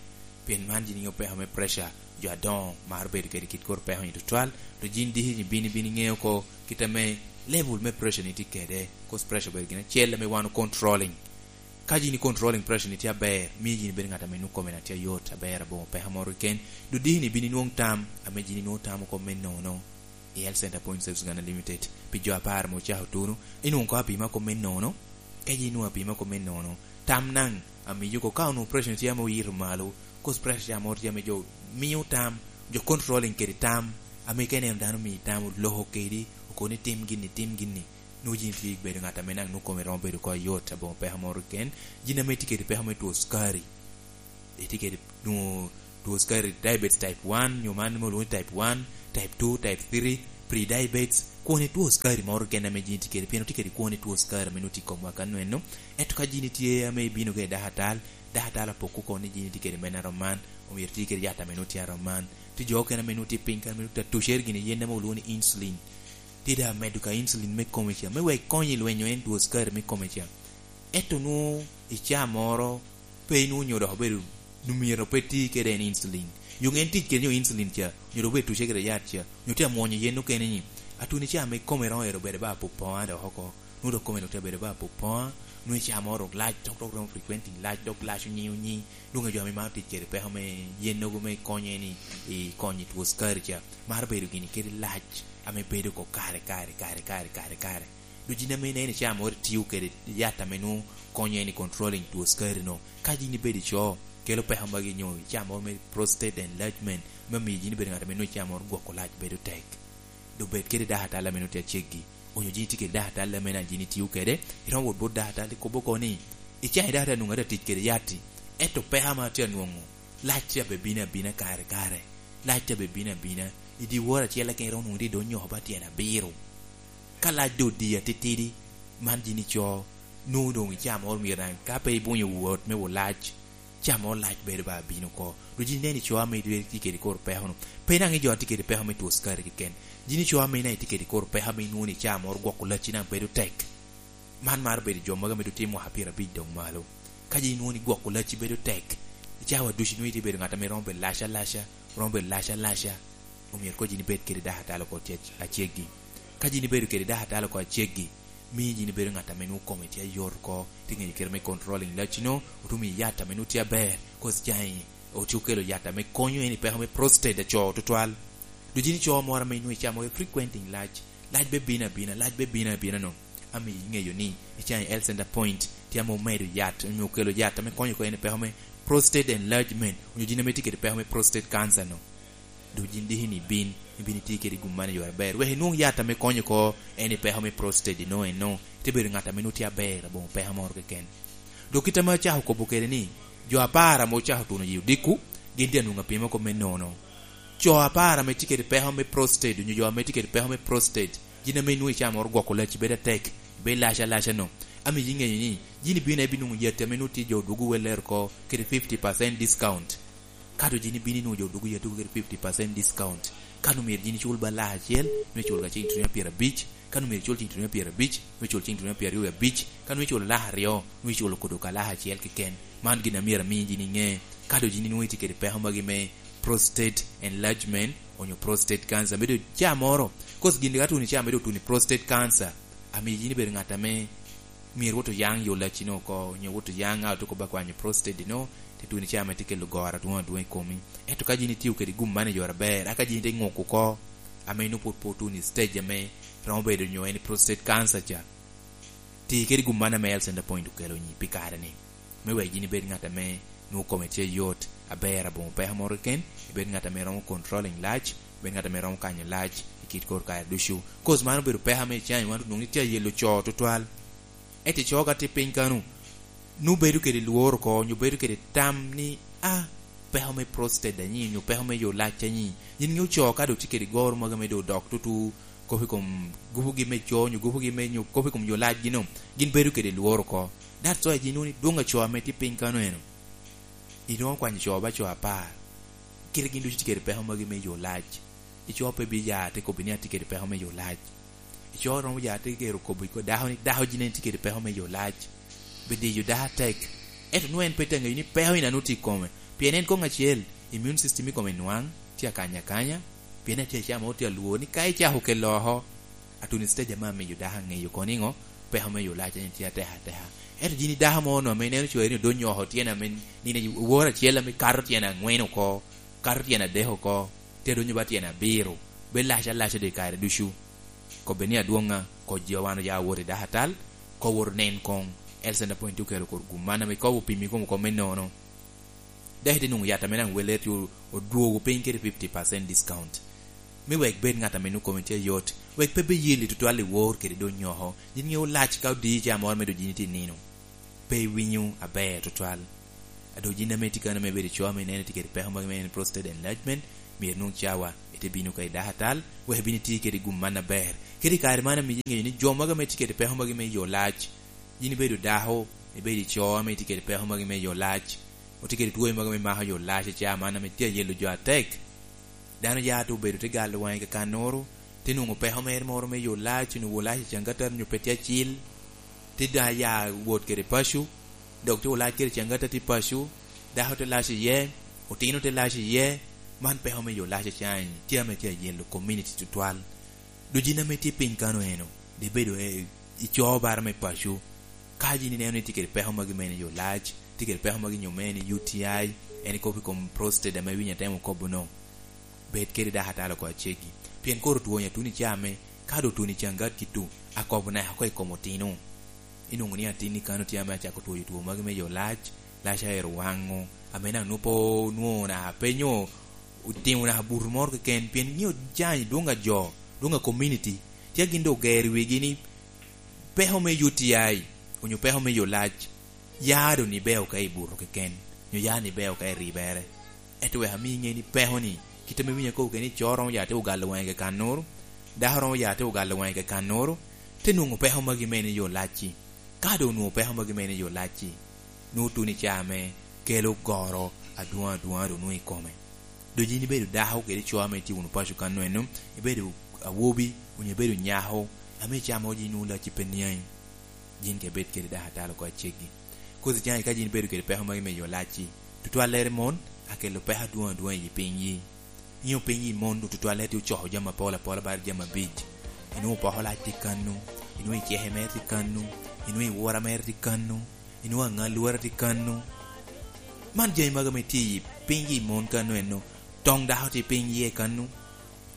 Pien man yin iŋeo peko me pressure, jo adoŋo maro bedo kede kit kor peko ni tutwal, to yin diki ni bini, bini ŋeo ko kit ame level me pressure ni tye kede, cause pressure obedo gin acel ame wan controlling. Ka yin i controlling pressure ni tye aber, miyo yin ibedo ŋat ame nwoŋo kome na tye ayot aber aboŋo peko moro keken. Doŋ diki ni bini nwoŋ tam, ame yin inwoŋo tamo kop me nono i Health Center Point Service Uganda Limited, pi jo apar ame ocako tuno, inwoŋo ko apima kop me nono, ka yin inwoŋo apima kop me nono, tam naŋ amiyo ko ka onwoŋo pressure ni tye ame oyito malo, cause pressure ca moro tye ame jo mio tam, jo controlling kede tam, ame ka ineno dano omii tam, oloko kedi, okobo ni tim gin ni, tim gin ni. Nwoŋo yin tye ibedo ŋat ame naŋ nwoŋo kome romo bedo ko ayot, aboŋo peko moro keken. Yin ame itye kede peko me two cukari, itye kede nwoŋo two cukari, diabetes type one, nyo man me olwoŋo ni type one, type two, type three, Pre-diabetes, kwone two sukari moro keken ame jini tye kede, pien otye kede kwone two sukari ame nwoŋo tye i komwa ka nweno. Ento ka jini tye ame ibino kede dakatal, dakatal apoko kono ni jini tye kede men arom man, omyero iti kede yat ame nwoŋo tye arom man. Tye jo okene ame nwoŋo tye piny kare ame nwoŋo tye atucere gini yen ame olwoŋo ni insulin. Tye daŋ medo ka insulin me kome ca, me wek konye i lwenyo en two sukari me kome ca. Ento nwoŋo i caa moro pe inwoŋo nyo dok obedo, nwoŋo myero pe ti kede en insulin. Yo ŋen tic kede nyo insulin ca, nyo dok obedo tuce kede yat ca, nyo tye amwonyo yen okene ni, atuni caa me kome roŋo ero bedo ba apupoŋa dok oko. Nwoŋo dok kome dok tye abedo ba apupoŋa, nwoŋo i caa moro dok lac, tok dok romo frequenting lac, dok lac onyi onyi. Nwoŋo jo ame maro tic kede peko me yen nogo me konye ni i konyo i two sukari ca, maro bedo gini kede lac ame bedo oko kare, kare, kare, kare, kare, kare. Dok jin ame ineno i caa moro itio kede yat ame nwoŋo konyo en i controlling two sukari no. Ka jin ibedo ico, kelo peko magi nyo i caa moro me prostate enlargement, me miyo jin ibedo ŋat ame nwoŋo i caa moro gwoko lac bedo tek. Dok bed kede dakatal ame nwoŋo tye aceggi, onyo jin itye kede dakatal ame na jin itio kede, iromo wot bot dakatal ikobo oko ni, i caa i dakatal nwoŋo atye atic kede yat-ti, ento peko ame atye anwoŋo, lac tye abe bino abina kare kare, lac tye abe bino abina, i dyewor acel keken iromo nwoŋo tye i dog nyoko ba tyen abiro. Ka lac doŋ odi atitidi, man jin ico, nwoŋo doŋ i caa moro myero daŋ, ka pe ibunyo wot me wot lac, caa moro lac bedo ba bino oko. Dok jin ineno ico ame itye kede kor peko-nu. Pe daŋ i jo a tye kede peko me two sukari keken. Jin ico ame ineno itye kede kor peko ame inwoŋo ni caa moro gwoko lacci daŋ bedo tek. Man maro bedo jo mogo ame doŋ tye mwaka pyerabic doŋ malo. Ka jin inwoŋo ni gwoko lacci bedo tek, i cawa ducu nwoŋo itye bedo ŋat ame romo bedo lac alaca, romo bedo lac alaca. Omyero koŋ jin ibed kede dakatal oko tye aceggi. Ka jin ibedo kede dakatal oko aceggi, mio jin ibedo ŋat ame nwoŋo kome tye ayot oko, tye ŋeyo kite me controlling lacci-nu, otumo i yat ame nwoŋo tye aber, cause caa-ni otye okelo yat ame konyo en i peko me prostate aco tutwal. Dok jin ico moro ame inwoŋo icamo frequenting lac, lac be bino abina, lac be bino abina no, amiyo iŋeyo ni i caa-ni health center point tye ame omedo yat, onyo okelo yat ame konyo oko en i peko me prostate enlargement, onyo jin ame tye kede peko me prostate cancer no. Dok jin diki ni ibin, ibin iti kede gum man i yore aber. Wek inwoŋ yat ame konyo oko en i peko me prostate ino eno. Ite bedo ŋat ame nwoŋo tye aber, aboŋo peko moro keken. Dok kit ame acako kobo kede ni, jo apar ame ocako tuno yi odiko, gin tye anwoŋo apimo kop me nono. Co apar ame tye kede peko me prostate, onyo jo ame tye kede peko me prostate, jin ame inwoŋo i caa moro gwoko lacci bedo atek, bedo lac alaca no. Amiyo iŋeyo ni, jin ibino ibinwoŋo yat ame nwoŋo tye jo dwogo welere oko, kede fifty percent discount. Ka doŋ jin ibino inwoŋo jo dwogo yat dwogo kede fifty percent discount. Ka doŋ myero jin icul ba lak acel, nwoŋo icul ka cing tunia pyerabic. Ka doŋ myero icul cing tunia pyerabic, nwoŋo icul cing tunia pyeraryo abic. Ka doŋ icul lak aryo, nwoŋo icul kodo ka lak acel keken. Man gin a myero ami jin iŋe. Ka doŋ jin inwoŋo itye kede peko magi me prostate enlargement, onyo prostate cancer, me doŋ caa moro. Cause gin ka tuno i caa me doŋ tuno i prostate cancer, amiyo jin ibedo ŋat ame myero wot oyaŋ yo lacci-nu oko, onyo wot oyaŋ a otuko ba kwanyo prostate-nu, te tuno i caa ame tye kelo goro adwoŋ adwoŋ i komi. Ento ka jin itio kede gum man i yore aber, aka jin ite ŋuko oko, ame nwoŋo pwod pe otuno i stage ame romo bedo nyo en i prostate cancer ca, ti kede gum man ame health center point okelo ni pi kare-ni. Me wek jin ibed ŋat ame nwoŋo kome tye yot, aber, aboŋo peko moro keken, ibed ŋat ame romo controlling lac, ibed ŋat ame romo kanyo lac i kit kor kare ducu. Cause man obedo peko ame i caa-ni wan onwoŋo ni tye ayelo co tutwal. Ento i co ka tye piny kano, nwoŋo bedo kede lworo oko, onyo bedo kede tam ni, "A, peko me prostate anyi, onyo peko me yo lac anyi." Yin ŋeo co ka doŋ tye kede goro mogo ame doŋ odok tutu, kop i kom gupugi me co, onyo gupugi me nyo, kop i kom yo lacgi no, gin bedo kede lworo oko. That's why jin nwoŋo ni dwoŋ a co ame tye piny kano eno, iromo kwanyo co ba co apar. Kite gin ducu tye kede peko magi me yo lac. I co pe bi ya te kobbi ni atye kede peko me yo lac. I co romo ya te gero kobbi ko dako ni dako jin en tye kede peko me yo lac. Bi diyo dako atek. Ento nwoŋo en pe te ŋeyo ni peko ina nwoŋo tye i kome. Pien en koŋ acel, immune system i kome nwaŋ, tye akanya akanya. Pien atye acama otye alwor ni ka icako kelo oko, atuni stage ame amiyo dako aŋeyo kono niŋo, peko me yo lac en tye atek ateka. Ento jin i dako mo no ame ineno cwari ni odonyo oko tyen ame nino woro acel ame kato tyen aŋwen oko, kato tyen adek oko, te donyo ba tyen abiro, bedo lac alaca doŋ i kare ducu. Kobbe ni adwoŋa, koj jo wan oya wot i dakatal, ko wot onen koŋ, health center point okelo kor gum man ame kobo opimi kom oko me nono. Dok ite nwoŋo yat ame daŋ welle tye odwogo piny kede fifty percent discount. Me wek bed ŋat ame nwoŋo kome tye ayot, wek pe biyelli tutwal i wor kede donyo oko. Yin ŋeo lac ka odi ca moro me doŋ yin itye i nino. Pe iwinyo aber tutwal. A doŋ yin ame itye kano ame ibedo i co ame ineno itye kede peko magi me en prostate enlargement, myero inwoŋ cawa, te bino ka i dako atal, wek ibin iti kede gum man aber. Kede i kare man amiyo iŋeyo ni jo mogo ame tye kede peko magi me yo lac, yin ibedo dako, ibedo i co ame itye kede peko magi me yo lac, otye kede twoyo mogo me mako yo lac i caa man ame tye ayelo jo atek. Dano ya te obedo te galo waŋe kakannoro, te nwoŋo peko mere moro me yo lac, onwoŋo lac i caŋgatar nyo pe tye acil, te da ya wot kede paco, dok te olac kede caŋgatar tye paco, dako te lac iye, otino te lac iye. Man peko me yo lac acaŋ tye ame tye ayelo community tutwal. Dok yin ame tye piny kano eno, de bedo, eh, i co bara me paco. Ka yin ineno ni tye kede peko magi mene i yo lac, tye kede peko magi nyo mene i U T I, en ikobo i kom prostate ame winyo atemo kobo no, bed kede dako atalo oko acegi. Pien koro twoni atuni ca me, ka do twoni caŋgat gitu, akobo naka oko i kom otino. Inwoŋo ni atin i kano tye ame acako twoyo two magi me yo lac, lac aero waŋo, ame naka nwoŋo pe onwoŋo naka pe nyo otimo naka buto moro keken, pien nio caŋ dwoŋ a jo, dwoŋ a community, tye gin doŋ ogero i wigi ni peko me U T I, onyo peko me yo lac, ya doŋ ni beo ka i buto keken, nyo ya ni beo ka i ribere. Ento wek ami iŋe ni peko ni, kit ame winyo akobo kede ni co romo ya te ogalo waŋe kakannoro, dako romo ya te ogalo waŋe kakannoro, te nwoŋo peko magi mene i yo lacci. Ka doŋ onwoŋo peko magi mene i yo lacci, nwoŋo tuno i caa me kelo goro adwoŋ adwoŋ a doŋ nwoŋo i kome. Doŋ yin ibedo dako kede co ame itye wunu paco kano eno, ibedo awobi, onyo ibedo nyako, ame i caa mo yin nwoŋo lacci pe niaŋi, yin ka ibed kede dako atalo oko aceggi. Kozi caŋ ka yin ibedo kede peko magi me yo lacci, tutwallere mon akelo peko adwoŋ adwoŋ i piny yi. Inyo piny yi mon tutwallere tye ocoko jami apol apola bala jami abic. Inwoŋo poko lac tye kano, inwoŋo iceke mere tye kano, inwoŋo iwora mere tye kano, inwoŋo aŋa lwora tye kano. Man jami magi ame tye i piny yi mon kano eno, toŋ dako tye piny yi kano.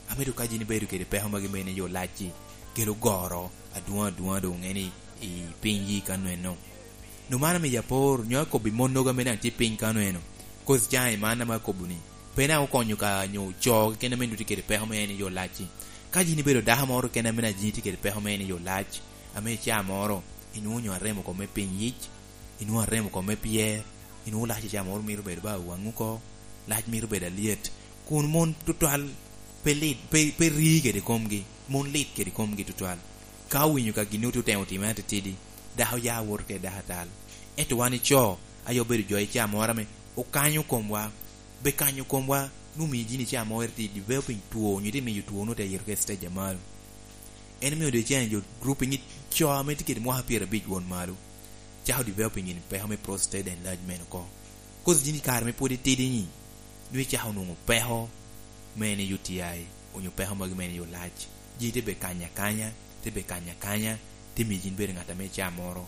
Ame doŋ ka yin ibedo kede peko magi mene i yo lacci, kelo goro adwoŋ adwoŋ a doŋ ŋe ni i piny yi kano eno. Doŋ man amiyo apor, nyo akobbi monnogo ame daŋ tye piny kano eno, kozi caŋ i man ame akobo ni, pe daŋ okonyo ka nyo co keken ame nwoŋo tye kede peko me en i yo lacci. Ka yin ibedo dako moro keken ame daŋ yin itye kede peko me en i yo lac, ame i caa moro, inwoŋo nyo aremo oko me piny yic, inwoŋo aremo oko me pyer, inwoŋo lac i caa moro mito bedo ba waŋ oko, lac mito bedo alyet, kun mon tutwal pe lit, pe, pe ri kede komgi, mon lit kede komgi tutwal. Ka owinyo ka gin otye otemo timere atitidi, dako ya woto kede dako atal. Ento wan ico, aye obedo jo i caa moro ame okanyo komwa, be kanyo komwa, nwoŋo miyo yin i caa moro ite developing two, onyo ite miyo two nwoŋo te yito ka i stage a malo. En omiyo dong icaŋ jo grouping i co ame tye kede mwaka pyerabic won malo, cako developing in peko me prostate enlargement oko. Kozi yin i kare me pwod itidi-ni, nwoŋo icako nwoŋo peko me en i U T I, onyo peko magi me en i yo lac. Ji te be kanyo akanya, te be kanyo akanya, te miyo yin bedo ŋat ame i caa moro,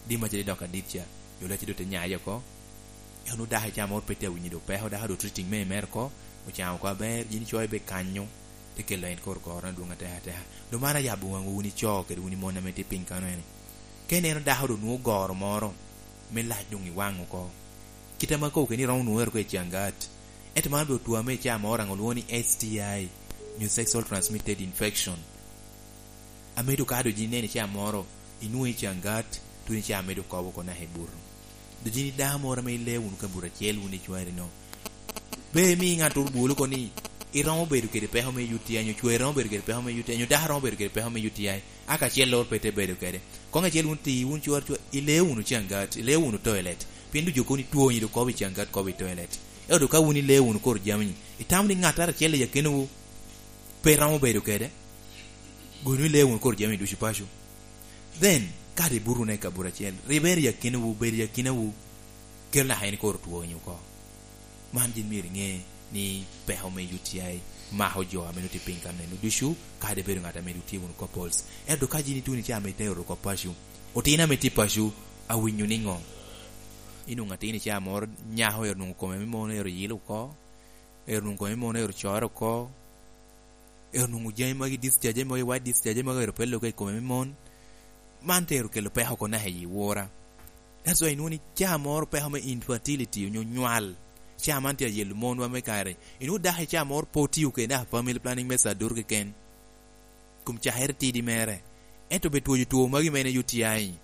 dim acel idoko adit ca, yo lacci doŋ te nyaye oko. Ento nwoŋo dako i caa moro pe tye awinyo doŋ peko, dako doŋ treating me mere oko, ocaŋo oko aber, yin icoyo be kanyo, te kelo en kor goro adwoŋ ateka ateka. Doŋ man ayabo waŋwu wun ico kede wun i mon ame tye piny kano eno. Ka ineno dako doŋ nwoŋo goro moro me lac doŋ i waŋ oko, kit ame akobo kede ni romo nwoŋo ero oko i caŋgat. Ento man obedo two ame i caa moro daŋ olwoŋo ni S T I, nyo sexual transmitted infection. Ame doŋ ka doŋ yin ineno i caa moro, inwoŋo i caŋgat, tuno i caa medo kobo oko naka i buto. Doŋ yin i dako moro ame ileo wunu ka buto acel wun i cwari no, pe imi ŋat oro bwolo oko ni iromo bedo kede peko me U T I, nyo cwari romo bedo kede peko me U T I, nyo dako romo bedo kede peko me U T I, aka acel lor pe te bedo kede. Koŋ acel wun ti, wun cwar cwar, ileo wunu caŋgat, ileo wunu toilet, pien ducu kono itwonyi doŋ kobo i caŋgat, kobo i toilet. Ento doŋ ka wun ileo wunu kor jami-ni, itamo ni ŋattoro acel i akinawu pe romo bedo kede? Gon ileo wunu kor jami ducu paco. Then, kadi ibuto wunu i kabuto acel, ribere i akinawu, bedo i akinawu, kelo naka en kor twonyi oko. Man yin myero iŋe ni peko me U T I mako jo ame nwoŋo tye piny kano eno ducu, kadi ibedo ŋat ame nwoŋo tye wunu couples. Ento ka yin ituno i caa ame itero oko paco, otino ame tye paco, awinyo niŋo? Inwoŋo atin i caa moro, nyako ero nwoŋo kome me mon ero yilo oko, ero nwoŋo kome me mon ero core oko, ero nwoŋo jami magi discharge, jami magi white discharge, jami magi ero pe lokke i kome me mon. Man te ero kelo peko oko naka i wora. That's why inwoŋo ni caa moro peko me infertility onyo nywal, caa man tye ayelo monwa me kare. Inwoŋo dako i caa moro pe otio kede naka family planning me cadutu keken, kom cakere tidi mere. Ento be twoyo two magi mene U T I,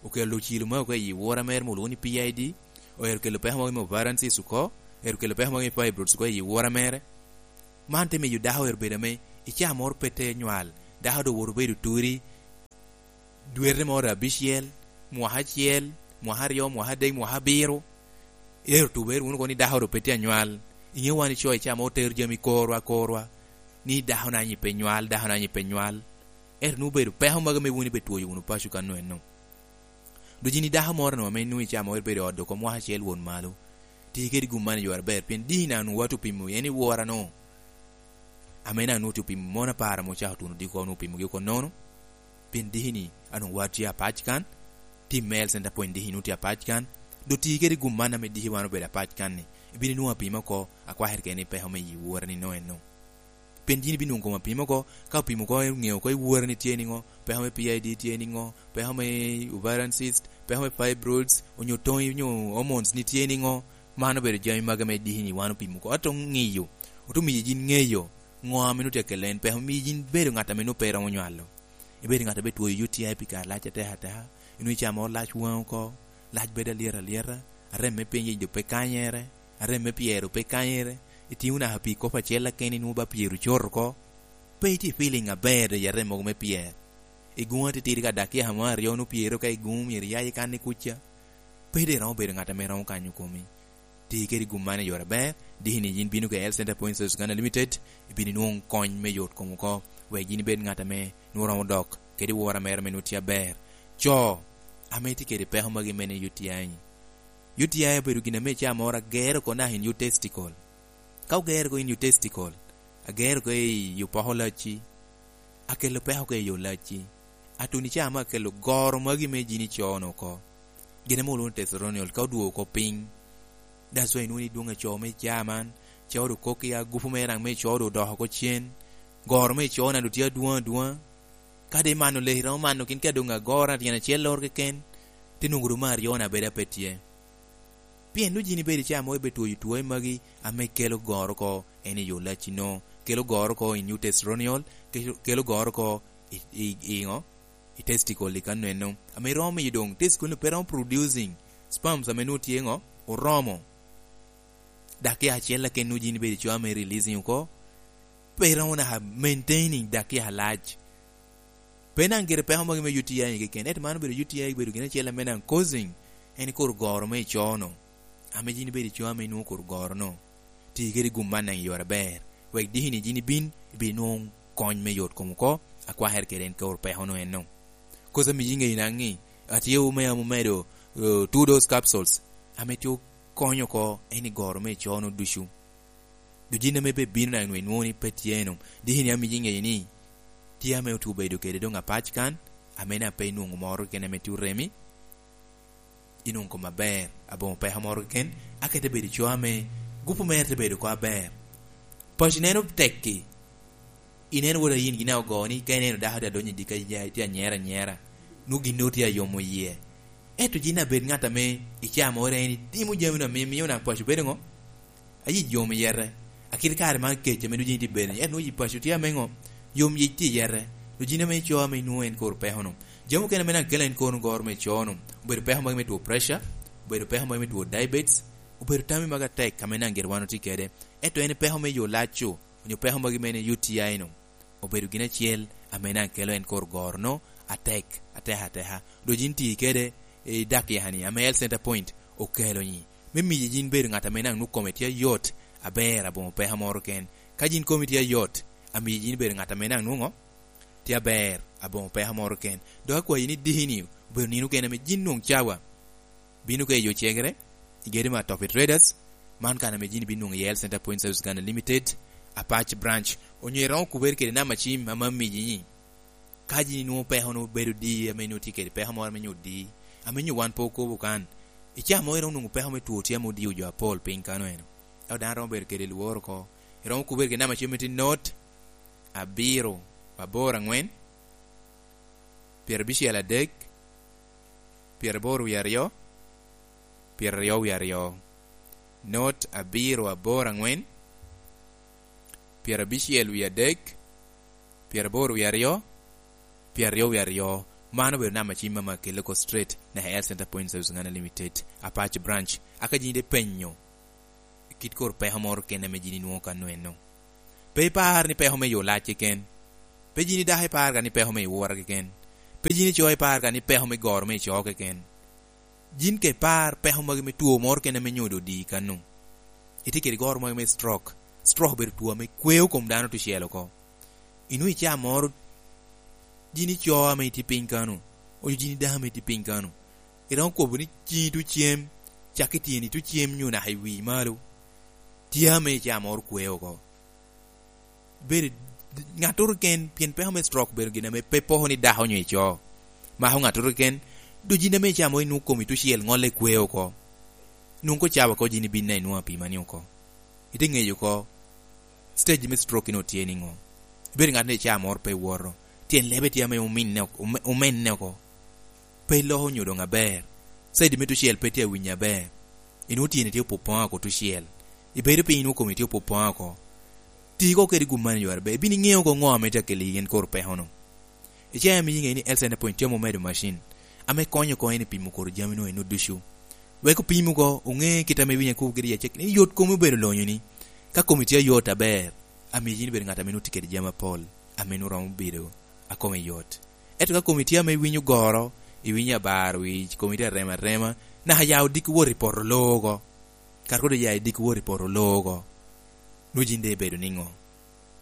okelo ocilo magi oko i wora mere ma olwoŋo ni P I D, oero kelo peko magi me ovarian cyst oko, oero kelo peko magi me fibroids oko i wora mere. Man te miyo dako ero bedo ame i caa moro pe te nywal, dako doŋ owoto obedo turi, dwete moro abicel, mwaka acel, mwaka aryo, mwaka adek, mwaka abiro. Ero tube wunu kono ni dako doŋ pe tye anywal. Iŋeo wan ico i caa moro otero jami korwa, korwa, ni dako na nyi pe nywal, dako na nyi pe nywal. Ero nwoŋo obedo peko magi ame wun ibe twoyo wunu paco kano eno. Dok yin i dako moro no ame nwoŋo i caa moro ibedo i ot oko mwaka acel wot malo, ti kede gum man i yore aber, pien diki na nwoŋo wat opimo en i wora no. Ame na nwoŋo ti opimo mon apar ame ocako tuno diki oko, nwoŋo opimogi oko nono. Pien diki ni, a nwoŋo wat tye apac kan, tim me health center point diki ni nwoŋo tye apac kan, dok ti kede gum man ame diki wan obedo apac kan ni, ibino nwoŋo apima oko, akwakere kede ni peko me i wora ni no eno. Pien yin ibino nwoŋo kom apima oko, ka opimo oko, ŋeo oko i wora ni tye niŋo, peko me P I D tye niŋo, peko me ovarian cyst, peko me fibroids, onyo toŋi, onyo hormones ni tye niŋo, man obedo jami magi ame diki ni wan opimo oko. Ato ŋiyo, oto miyo yin ŋeyo, ŋo ame nwoŋo tye akelo en peko, miyo yin bedo ŋat ame nwoŋo pe iromo nywalo. Ibedo ŋat ame twoyo U T I pi kare lac atek ateka, inwoŋo i caa moro lac waŋi oko, lac bedo alyet alyeta, arem me piny doŋ pe kanyere, arem me pyero pe kanyere, itiŋo naka pi kop acel akene inwoŋo ba pyero coto oko, pe itye feeling aber doŋ i arem mogo me pyer. Igoŋo atitidi ka dakiya mo aryo nwoŋo pyero ka igoŋo myero iyaye kan i kuca, pe doŋ iromo bedo ŋat ame romo kanyo komi. Ti kede gum man i yore aber, diki ni yin bino ka Health Center Point Service Uganda Limited, ibino nwoŋo kony me yot kom oko, wek yin ibed ŋat ame nwoŋo romo dok kede wora mere ame nwoŋo tye aber. Co ame tye kede peko magi mene U T I. U T I obedo gin ame i caa moro agero oko naka in your testicle. Ka ogero oko in your testicle, agero oko i opoko lacci, akelo peko oko i yo lacci. Atun i caa me akelo goro magi me jini co-nu oko. Gin ame olwoŋo ni testosterone ka odwogo oko piny. That's why inwoŋo ni dwoŋ a co me caa man, co doŋ kok i agupu me raŋ me co doŋ odoko oko cen. Goro me co na doŋ tye adwoŋ adwoŋa. Ka doŋ imano leki, iromo mano kin ka doŋ agoro na tyen acel loro keken, ti nwoŋo doŋ me aryo na bedo ape tye. Pien nwoŋo yin ibedo i caa mo ibe twoyo twoe magi ame kelo goro oko en i yo lacci no, kelo goro oko in your testosterone, kelo, kelo goro oko i, i, i ŋo? I testicle i kano eno. Ame romo miyo doŋ testicle ni pe romo producing sperms ame nwoŋo tye ŋo? Oromo. Dakiya acel aken nwoŋo yin ibedo i coo ame releasing oko. Pe romo naka maintaining dakiya alac. Pe naŋ gire peko magi me U T I keken, ento man obedo U T I obedo gin acel ame naŋ causing en kor goro me i coo-nu. Ame yin ibedo i coo ame inwoŋo kor goro-nu. Ti kede gum man naŋ i yore aber, wek diki ni yin ibin, ibin nwoŋo kony me yot kom oko, akwakere kede en kor peko-nu eno. Koca ame yin ŋeyo naŋ ni, atye ome ame omedo, eh, two dose capsules, ame tye okonyo oko en i goro me i coo-nu ducu. Dok yin ame pe bino naŋ nwoŋo inwoŋo ni pe tye eno, diki ni amiyi ŋeyo ni tye ame otye obedo kede doŋ apac kan, ame na pe inwoŋo moro keken ame tye oremi, inwoŋo kom aber, aboŋo peko moro keken, aka ite bedo coo ame gupu mere te bedo oko aber. Paco ineno tekki, ineno wot a yin gin a ogo ni ka ineno dako tye adonyo i dika, tye anyera anyera, nwoŋo gin nwoŋo tye ayomo yie. Ento yin abed ŋat ame i caa moro en itimo jami na mio, mio naŋ paco bedo ŋo? Ayi yom i yete. Akit kare man kec ame nwoŋo yin itye bedo, ento nwoŋo yi paco tye ame ŋo? Yom yic tye i yete. Nwoŋo yin ame ico ame inwoŋo en kor peko-nu. Jami okene ame naŋ kelo en kor goro me co-nu, obedo peko magi me two pressure, obedo peko magi me two diabetes, obedo tammi magi atek ame naŋ gire wan otye kede. Ento en peko me yo lac-cu, onyo peko magi mene U T I-nu, obedo gin acel ame naŋ kelo en kor goro-nu atek, atek, ateka. Dok yin ti kede i dakiya-ni ame Health Center Point okelo-ni, me miyo yin bedo ŋat ame naŋ nwoŋo kome tye ayot, aber, aboŋo peko moro ken. Ka yin komi tye ayot, amiyo yin bedo ŋat ame naŋ nwoŋo tye aber, aboŋo peko moro ken. Dok akwayi ni diki-ni obedo nino kene ame yin nwoŋo cawa bino ka i yo cegere, i gedo me Atopi Traders, man kan ame yin ibino nwoŋo i Health Center Point Service Uganda Limited, Apac Branch, onyo iromo kubere kede namba cim ame amiyi-ni. Ka yin inwoŋo peko-nu bedo di, ame nwoŋo tye kede peko moro ame nyo di, ame nyo wan pe okobo kan, i caa mo iromo nwoŋo peko me two tye ame odio jo apol piny kano eno. Ento dano romo bedo kede lworo oko. Iromo kubere kede namba cim ame tye not abiro aboro aŋwen, pyerabicel adek, pyeraboro wie aryo, pyeraryo wie aryo. Not abiro aboro aŋwen, pyerabicel wie adek, pyeraboro wie aryo, pyeraryo wie aryo. Man obedo namba cim ame akelle oko straight naka Health Center Point Service Uganda Limited, Apac Branch. Aka yin ite penyo kit kor peko moro kene ame yin inwoŋo kano eno. Pe ipar ni peko me yo lac keken. Pe yin idako ipar ka ni peko me iwura keken. Pe yin ico ipar ka ni peko me goro me ico keken. Yin ka ipar peko magi me two moro kene ame nyodo odi kano, itye kede goro magi me stroke. Stroke obedo two ame kweo kom dano tucel oko. Inwoŋo i caa moro, yin ico ame itye piny kano, onyo yin idako ame itye piny kano, iromo kobo ni ciŋi tucem, cak i tyeni tucem nyo naka i wi malo, tye ame i caa moro kweo oko. Bedo ŋattoro keken, pien peko me stroke obedo gin ame pe poko ni dako onyo ico. Mako ŋattoro keken, dok yin ame i caa moro inwoŋo komi tucel ŋolle kweo oko. Nwoŋo ko cawa oko yin ibin a inwoŋo apima ni oko. Ite ŋeyo oko, stage me stroke inwoŋo tye niŋo. Ibedo ŋat ni i caa moro pe iwoto. Tyen lebe tye ame ominne oko, ome-, omenne oko. Pe iloko nyo doŋ aber. Side me tucel pe tye awinyo aber. Inwoŋo tyeni tye opopoŋ oko tucel. Ibedo piny inwoŋo komi tye opopoŋ oko. Ti oko kede gum man i yore ber. Ibino iŋeo oko ŋo ame tye akeli yin kor peko-nu. I caa ame iŋeo ni health center point tye ame omedo macin ame konyo oko en i pimo kor jami-nu eno ducu. Wek opim oko, oŋe kit ame iwinyo akobo kede i acakki ni yot komi obedo lonyo ni. Ka komi tye ayot aber, amiyo yin ibedo ŋat ame nwoŋo tye kede jami apol, ame nwoŋo romo bedo a kome yot. Ento ka komi tye ame iwinyo goro, iwinyo abaro wic, komi tye arema arema, naka ya odiki wot i poto loo oko. Kara kodo ya idiki wot i poto loo oko, nwoŋo yin doŋ ibedo niŋo?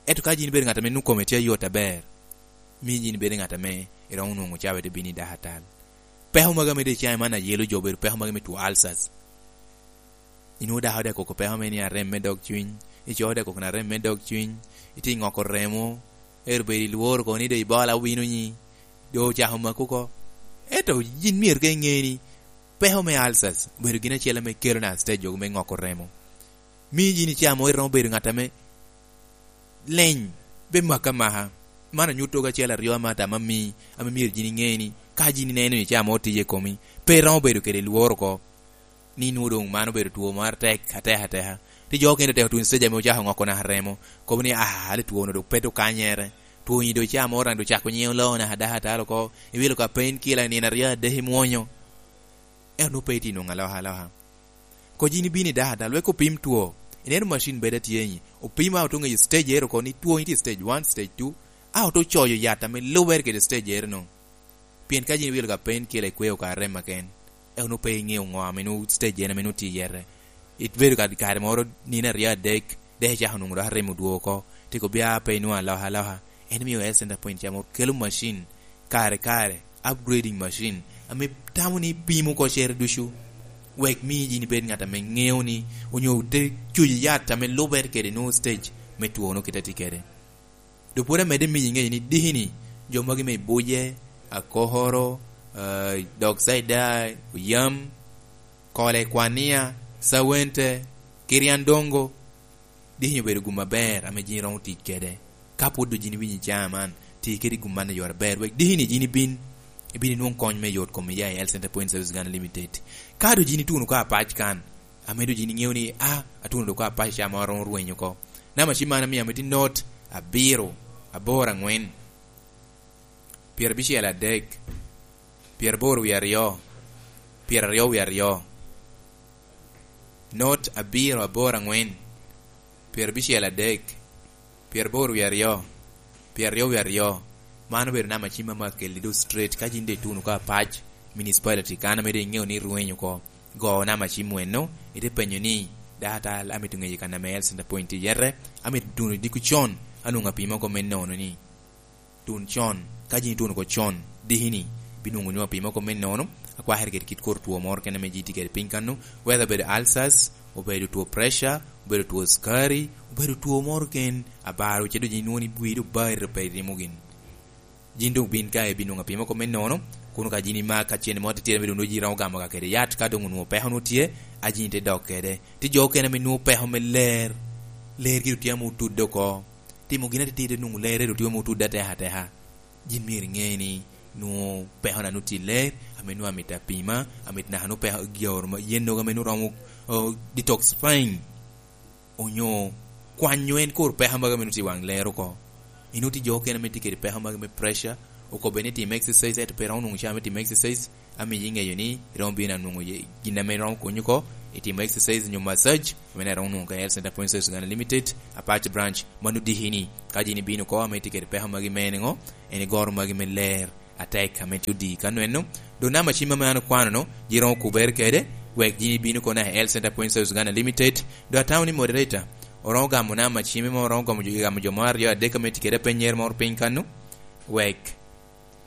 Ento ka yin ibedo ŋat ame nwoŋo kome tye ayot aber, miyo yin ibedo ŋat ame iromo nwoŋo cawa ite bino i dakatal. Peko magi ame doŋ icaŋ i man ayelo jo obedo peko magi me two ulcers. Inwoŋo dako dek koko peko me ni arem me dog cwiny, ico dek koko na arem me dog cwiny, itye ŋoko remo, ero bedo i lworo kono ni doŋ ibola owino nyi, doŋ ocako mako oko. Ento yin myero ka iŋe ni peko me ulcers obedo gin acel ame kelo na stage me ŋoko remo. Miyo yin i caa mo iromo bedo ŋat ame leny, be maka maka. Man anyuto ka acel aryo ame atamo ami, ame myero yin iŋe ni ka yin ineno ni caa mo tiye i komi, pe iromo bedo kede lworo oko. Ni nwoŋo doŋ man obedo two mo atek, atek, ateka. Ti jo okene oteko tuŋ stage ame ocako ŋoko naka remo. Kobo ni, "Ah, ali two-nu doŋ pe doŋ kanyere." Two-ni doŋ caa mo oraŋ doŋ cako nyiŋo loo naka dakatal oko. Iwilo ka pain killer nino aryo adek imwonyo. Ento nwoŋo pe itye nwoŋo aloka aloka. Ko yin ibino i dakatal, wek opim two. Ineno macin bedo atye ni, opim a oto ŋeyo stage ero oko ni two ni tye stage one, stage two. A oto coyo yat ame lubere kede stage ero no. Pien ka yin iwilo ka pain killer ikweo ka rem aken, eka nwoŋo pe iŋeo ŋo ame nwoŋo stage en ame nwoŋo tye i yete. Ibedo ka kare moro nino aryo adek, dek icako nwoŋo dok arem odwogo oko, tiko bia pe inwoŋo aloka aloka. En omio health center point camo kelo macin kare kare, upgrading machine, ame tamo ni pimo oko cere ducu, wek mi yin ibed ŋat ame ŋeo ni, onyo te cuyo yat ame lubere kede nwoŋo stage me two nwoŋo kite tye kede. Dok pwod amedde miyo iŋeyo ni diki-ni, jo magi me Ibuje, Akokoro, eh, Dog Saida, Oyam, Kole, Kwania, Sawente, Kiriandongo, diki-ni obedo gum aber ame yin iromo tic kede. Ka pwod doŋ yin iwinyo i caa man, ti kede gum man i yore aber, wek diki-ni yin ibin, ibin inwoŋ kony me yot kom iya i Health Center Point Service Uganda Limited. Ka doŋ yin ituno ka apac kan, ame doŋ yin iŋeo ni, a, atuno doŋ ka apac caa moro romo rweny oko. Namba cim man amio amito not abiro, aboro aŋwen, pyerabicel adek, pyeraboro wie aryo, pyeraryo wie aryo. Not abiro aboro aŋwen, pyerabicel adek, pyeraboro wie aryo, pyeraryo wie aryo. Man obedo namba cim ame akelli do straight. Ka yin doŋ ituno ka apac municipality kan ame doŋ iŋeo ni irweny oko, go namba cim weno, ite penyo ni, "Dakatal, amito ŋeyo kan ame Health Center Point tye yete, amito tuno diki con, anwoŋo apima oko me nono ni." Tun con. Ka yin ituno oko con, diki-ni, binwoŋo nyo apima oko me nono, akwakere kede kit kor two moro kene ame yin itye kede piny kano, whether obedo ulcers, obedo two pressure, obedo two sukari, obedo two moro ken, abaro, ce doŋ yin inwoŋo ni wii doŋ bari pe irimo gin. Yin doŋ bin ka ibinwoŋo apima oko me nono, kun ka yin ima ka cente mo atitira me doŋ nwoŋo yin iromo gamo ka kede yat, ka doŋ onwoŋo peko nwoŋo tye, a yin ite dok kede. Tye jo okene ame nwoŋo peko me ler, ler gire tye ame otudde oko. Timo gin atitira nwoŋo lerre ru tye ame otudde ateka ateka. Yin myero iŋe ni nwoŋo peko na nwoŋo tye ler, ame nwoŋo amito apima, amito naka nwoŋo peko goro ma, yen nogo ame nwoŋo romo, o, detoxifying, onyo kwanyo en kor peko magi ame nwoŋo tye i waŋ ler oko. Inwoŋo tye jo okene ame tye kede peko magi me pressure, okobbe ni tim exercise, ento pe romo nwoŋo caa me tim exercise, amiyo iŋeyo ni iromo bino anwoŋo ye-, gin ame romo konyi oko, Itimo exercise nyo massage, ame daŋ iromo nwoŋo ka i Health Center Point Service Uganda Limited, Apac Branch, mano diki ni, ka yin ibino oko ame itye kede peko magi me niŋo, en igoro magi me ler atek ame tye odi ka nweno. Doŋ namba cim ame an okwano-nu, yin iromo kubere kede, wek yin ibino oko naka i Health Center Point Service Uganda Limited. Doŋ atamo ni moderator, oromo gamo namba cim ame oromo gamo jo, gamo jo mo aryo adek ame tye kede apenyere moro piny kannu, wek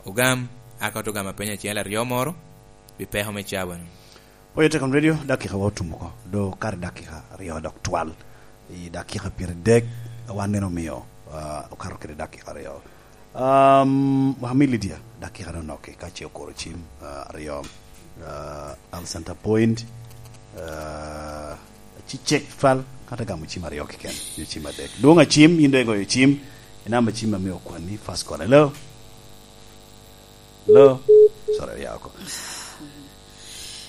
ogam, aka oto gamo apeny acel aryo moro, pi peko me cawa-nu. Oyo Tekon Radio, dakika wa otum oko. Do kare dakika aryo dok twal. I dakika pyeradek, wan neno omio, ah, okato kede dakika aryo. Um, wami Lydia, dakika doŋ onoki, ka ce okuro cim, ah, aryo. Ah, Al Center Point, ah, ci cek twal, kata gamo cim aryo keken, nyo cim adek. Dwong acim, yin doŋ igoyo cim, i namba cim ame okwanni, first call. Hello? Hello? Sorry, ya oko.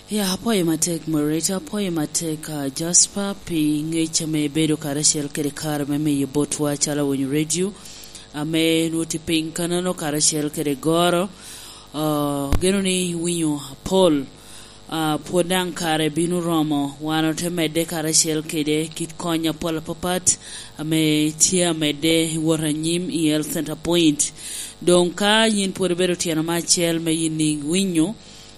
Ya, apwoyo matek, moderator, apwoyo matek, ah, Jasper, pi ngec ame ibedo karacel kede kare me miyo botwa calo Awinyo Radio, ame nwoŋo tye piny kanano karacel kede goro. Ah, geno ni iwinyo apol. Ah, pwod daŋ kare bino romo, wan ote medde karacel kede kit kony apol apapat ame tye amedde i wot anyim i Health Center Point. Doŋ ka yin pwod ibedo tyeno me acel me yin iwinyo,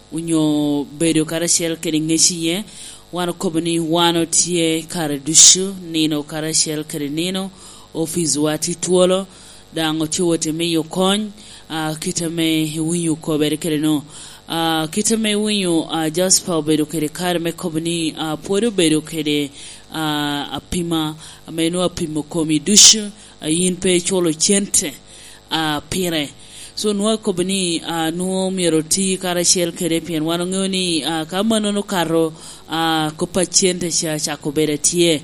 onyo bedo karacel kede ŋec iye, wan okobo ni wan otye kare ducu, nino karacel kede nino, opic wa tye twolo, daŋ otye wot i miyo kony, ah, kit ame iwinyo okobere kede no. Ah, kit ame iwinyo, ah, Jasper obedo kede kare me kobo ni, ah, pwod obedo kede, ah, apima, ame nwoŋo apimo komi ducu, ah, yin pe iculo cente, ah, pire. So, nwoŋo akobo ni, ah, nwoŋo myero oti karacel kede, pien wan oŋeo ni, ah, ka manono okato, ah, kop a cente ca cako bedo atye.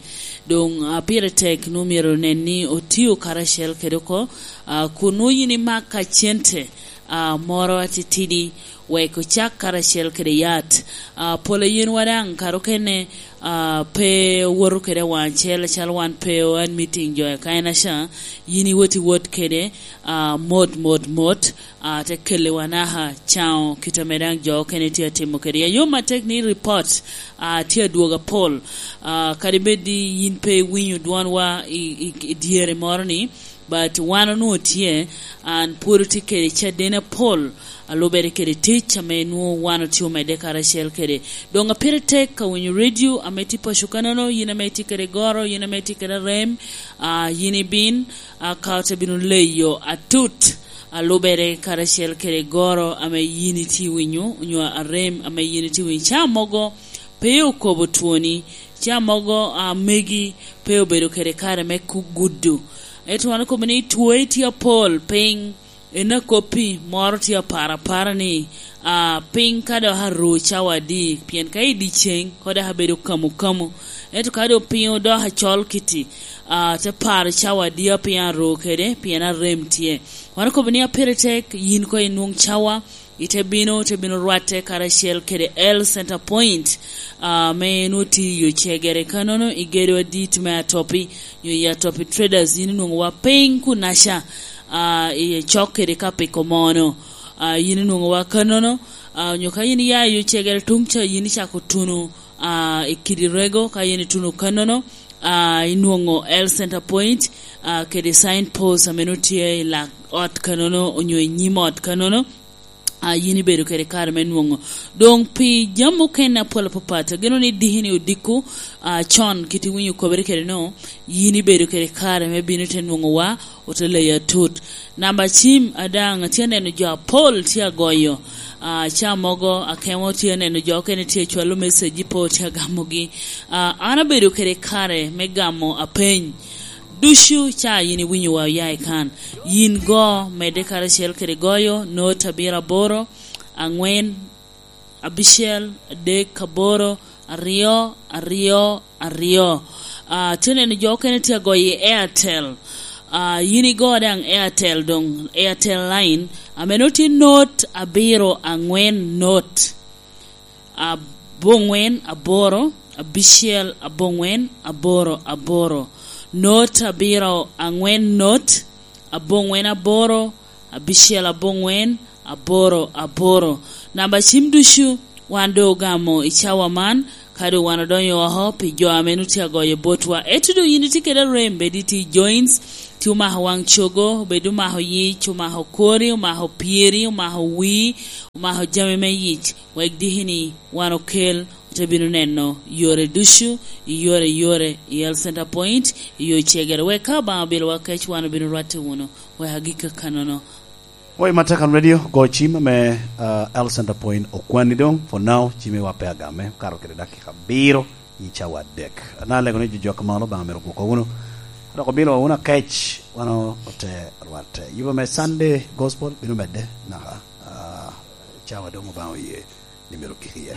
Doŋ, ah, pire tek, nwoŋo myero onen ni otio karacel kede oko, ah, kun nwoŋo yin imak ka cente, ah, moro atitidi, wek ocak karacel kede yat. Ah, pol a yenwa daŋ kare okene, ah, pe owoto kede awaŋ acel, acalo wan pe oan meeting jo i Kainaca, yin iwot iwot kede, ah, mot, mot, mot, ah, te kelliwa naka caŋo kit ame daŋ jo okene tye atimo kede. Ya, yom atek ni report, ah, tye adwogo apol. Ah, kadi bed ni yin pe iwinyo dwonwa i, i, i dyere moro ni, but wan onwoŋo tye, an pwod otye kede caden apol, a lubere kede tic ame nwoŋo wan otye omedde karacel kede. Doŋ a pire tek ka winyo radio ame tye paco kanono, yin ame itye kede goro, yin ame itye kede rem, ah, yin ibin, ah, ka ote bino leyo atut, a lubere karacel kede goro ame yin itye winyo, onyo arem ame yin itye winyo. Ca mogo pe okobo twoni, ca mogo, ah, megi pe obedo kede kare me ku-, gudo. Ento wan okobo ni two tye apol piny, en akoppi moro tye apar apara ni, ah, piny ka dok aru cawa adi, pien ka i dyeceŋ, ko dok abedo kamo kamo. Ento ka dok piny odok acol kiti, ah, te paro cawa adi a piny aru kede, pien arem tye. Wan okobo ni a pire tek, yin ko inwoŋ cawa, ite bino, te bino rwatte karacel kede L Center Point, ah, me nwoŋo tye i yo cegere. Kanono i gedo adit me Atopi, nyo i Atopi Traders, yin inwoŋo wa piny kunaca, ah, i cok kede ka piko mono. Ah, yin inwoŋo wa kanono, ah, nyo ka yin iya i yo cegere tuŋ ca, yin icako tuno, ah, i kidi rego, ka yin ituno kanono, ah, inwoŋo L Center Point, ah, kede signpost ame nwoŋo tye i lak ot kanono, onyo i nyim ot kanono. Ah, yin ibedo kede kare me nwoŋo. Doŋ pi jami okene apol apapat, ageno ni diki ni odiko, ah, con kit iwinyo kobere kede no, yin ibedo kede kare me bino te nwoŋo wa, ote leyo atut. Namba cim adaŋ, atye aneno jo apol tye agoyo. Ah, ca mogo akemo tye aneno jo okene tye acwalo message, po tye agamogi. Ah, an abedo kede kare me gamo apeny. Ducu ca yin iwinyo wa oya i kan. Yin go, medde karacel kede goyo, not abiro aboro, angwen, abicel, adek, aboro, aryo, aryo, aryo. Ah, tye neno jo okene tye agoyo i Airtel. Ah, yin igo daŋ Airtel doŋ, Airtel line, ame nwoŋo tye not abiro angwen not. Abongwen aboro, abicel abongwen, aboro aboro. Not abiro angwen not, abongwen aboro, abicel abongwen, aboro aboro. Namba cim ducu wan doŋ ogamo i cawa man, Ka doŋ wan odonyo oko pi jo ame nut tye agoyo botwa, ento doŋ yin itye kede arem, bed itye i joints, tye omako waŋ cogo, bed omako yic, omako kori, omako pyeri, omako wii, omako jami me yic, wek diki ni wan okel, ote bino neno yore ducu, i yore, yore, i Health Center Point, i yo cegere. Wek ka Obaŋa obilowa kec, wan obino rwatte wunu, wek agikki akanono. Wai Matakan Radio, go cim ame, ah, Health Center Point okwanni doŋ, for now, cimmi wa pe agame, okato kede dakika abiro i cawa adek. Ana alego ni jo jok malo, Obaŋa myero ogwokwa wunu. Dok obilo wunu akec, wan ote rwatte. Yubo me Sunday Gospel bino medde naka, ah, cawa doŋ Obaŋa oye ni myero ogik iye.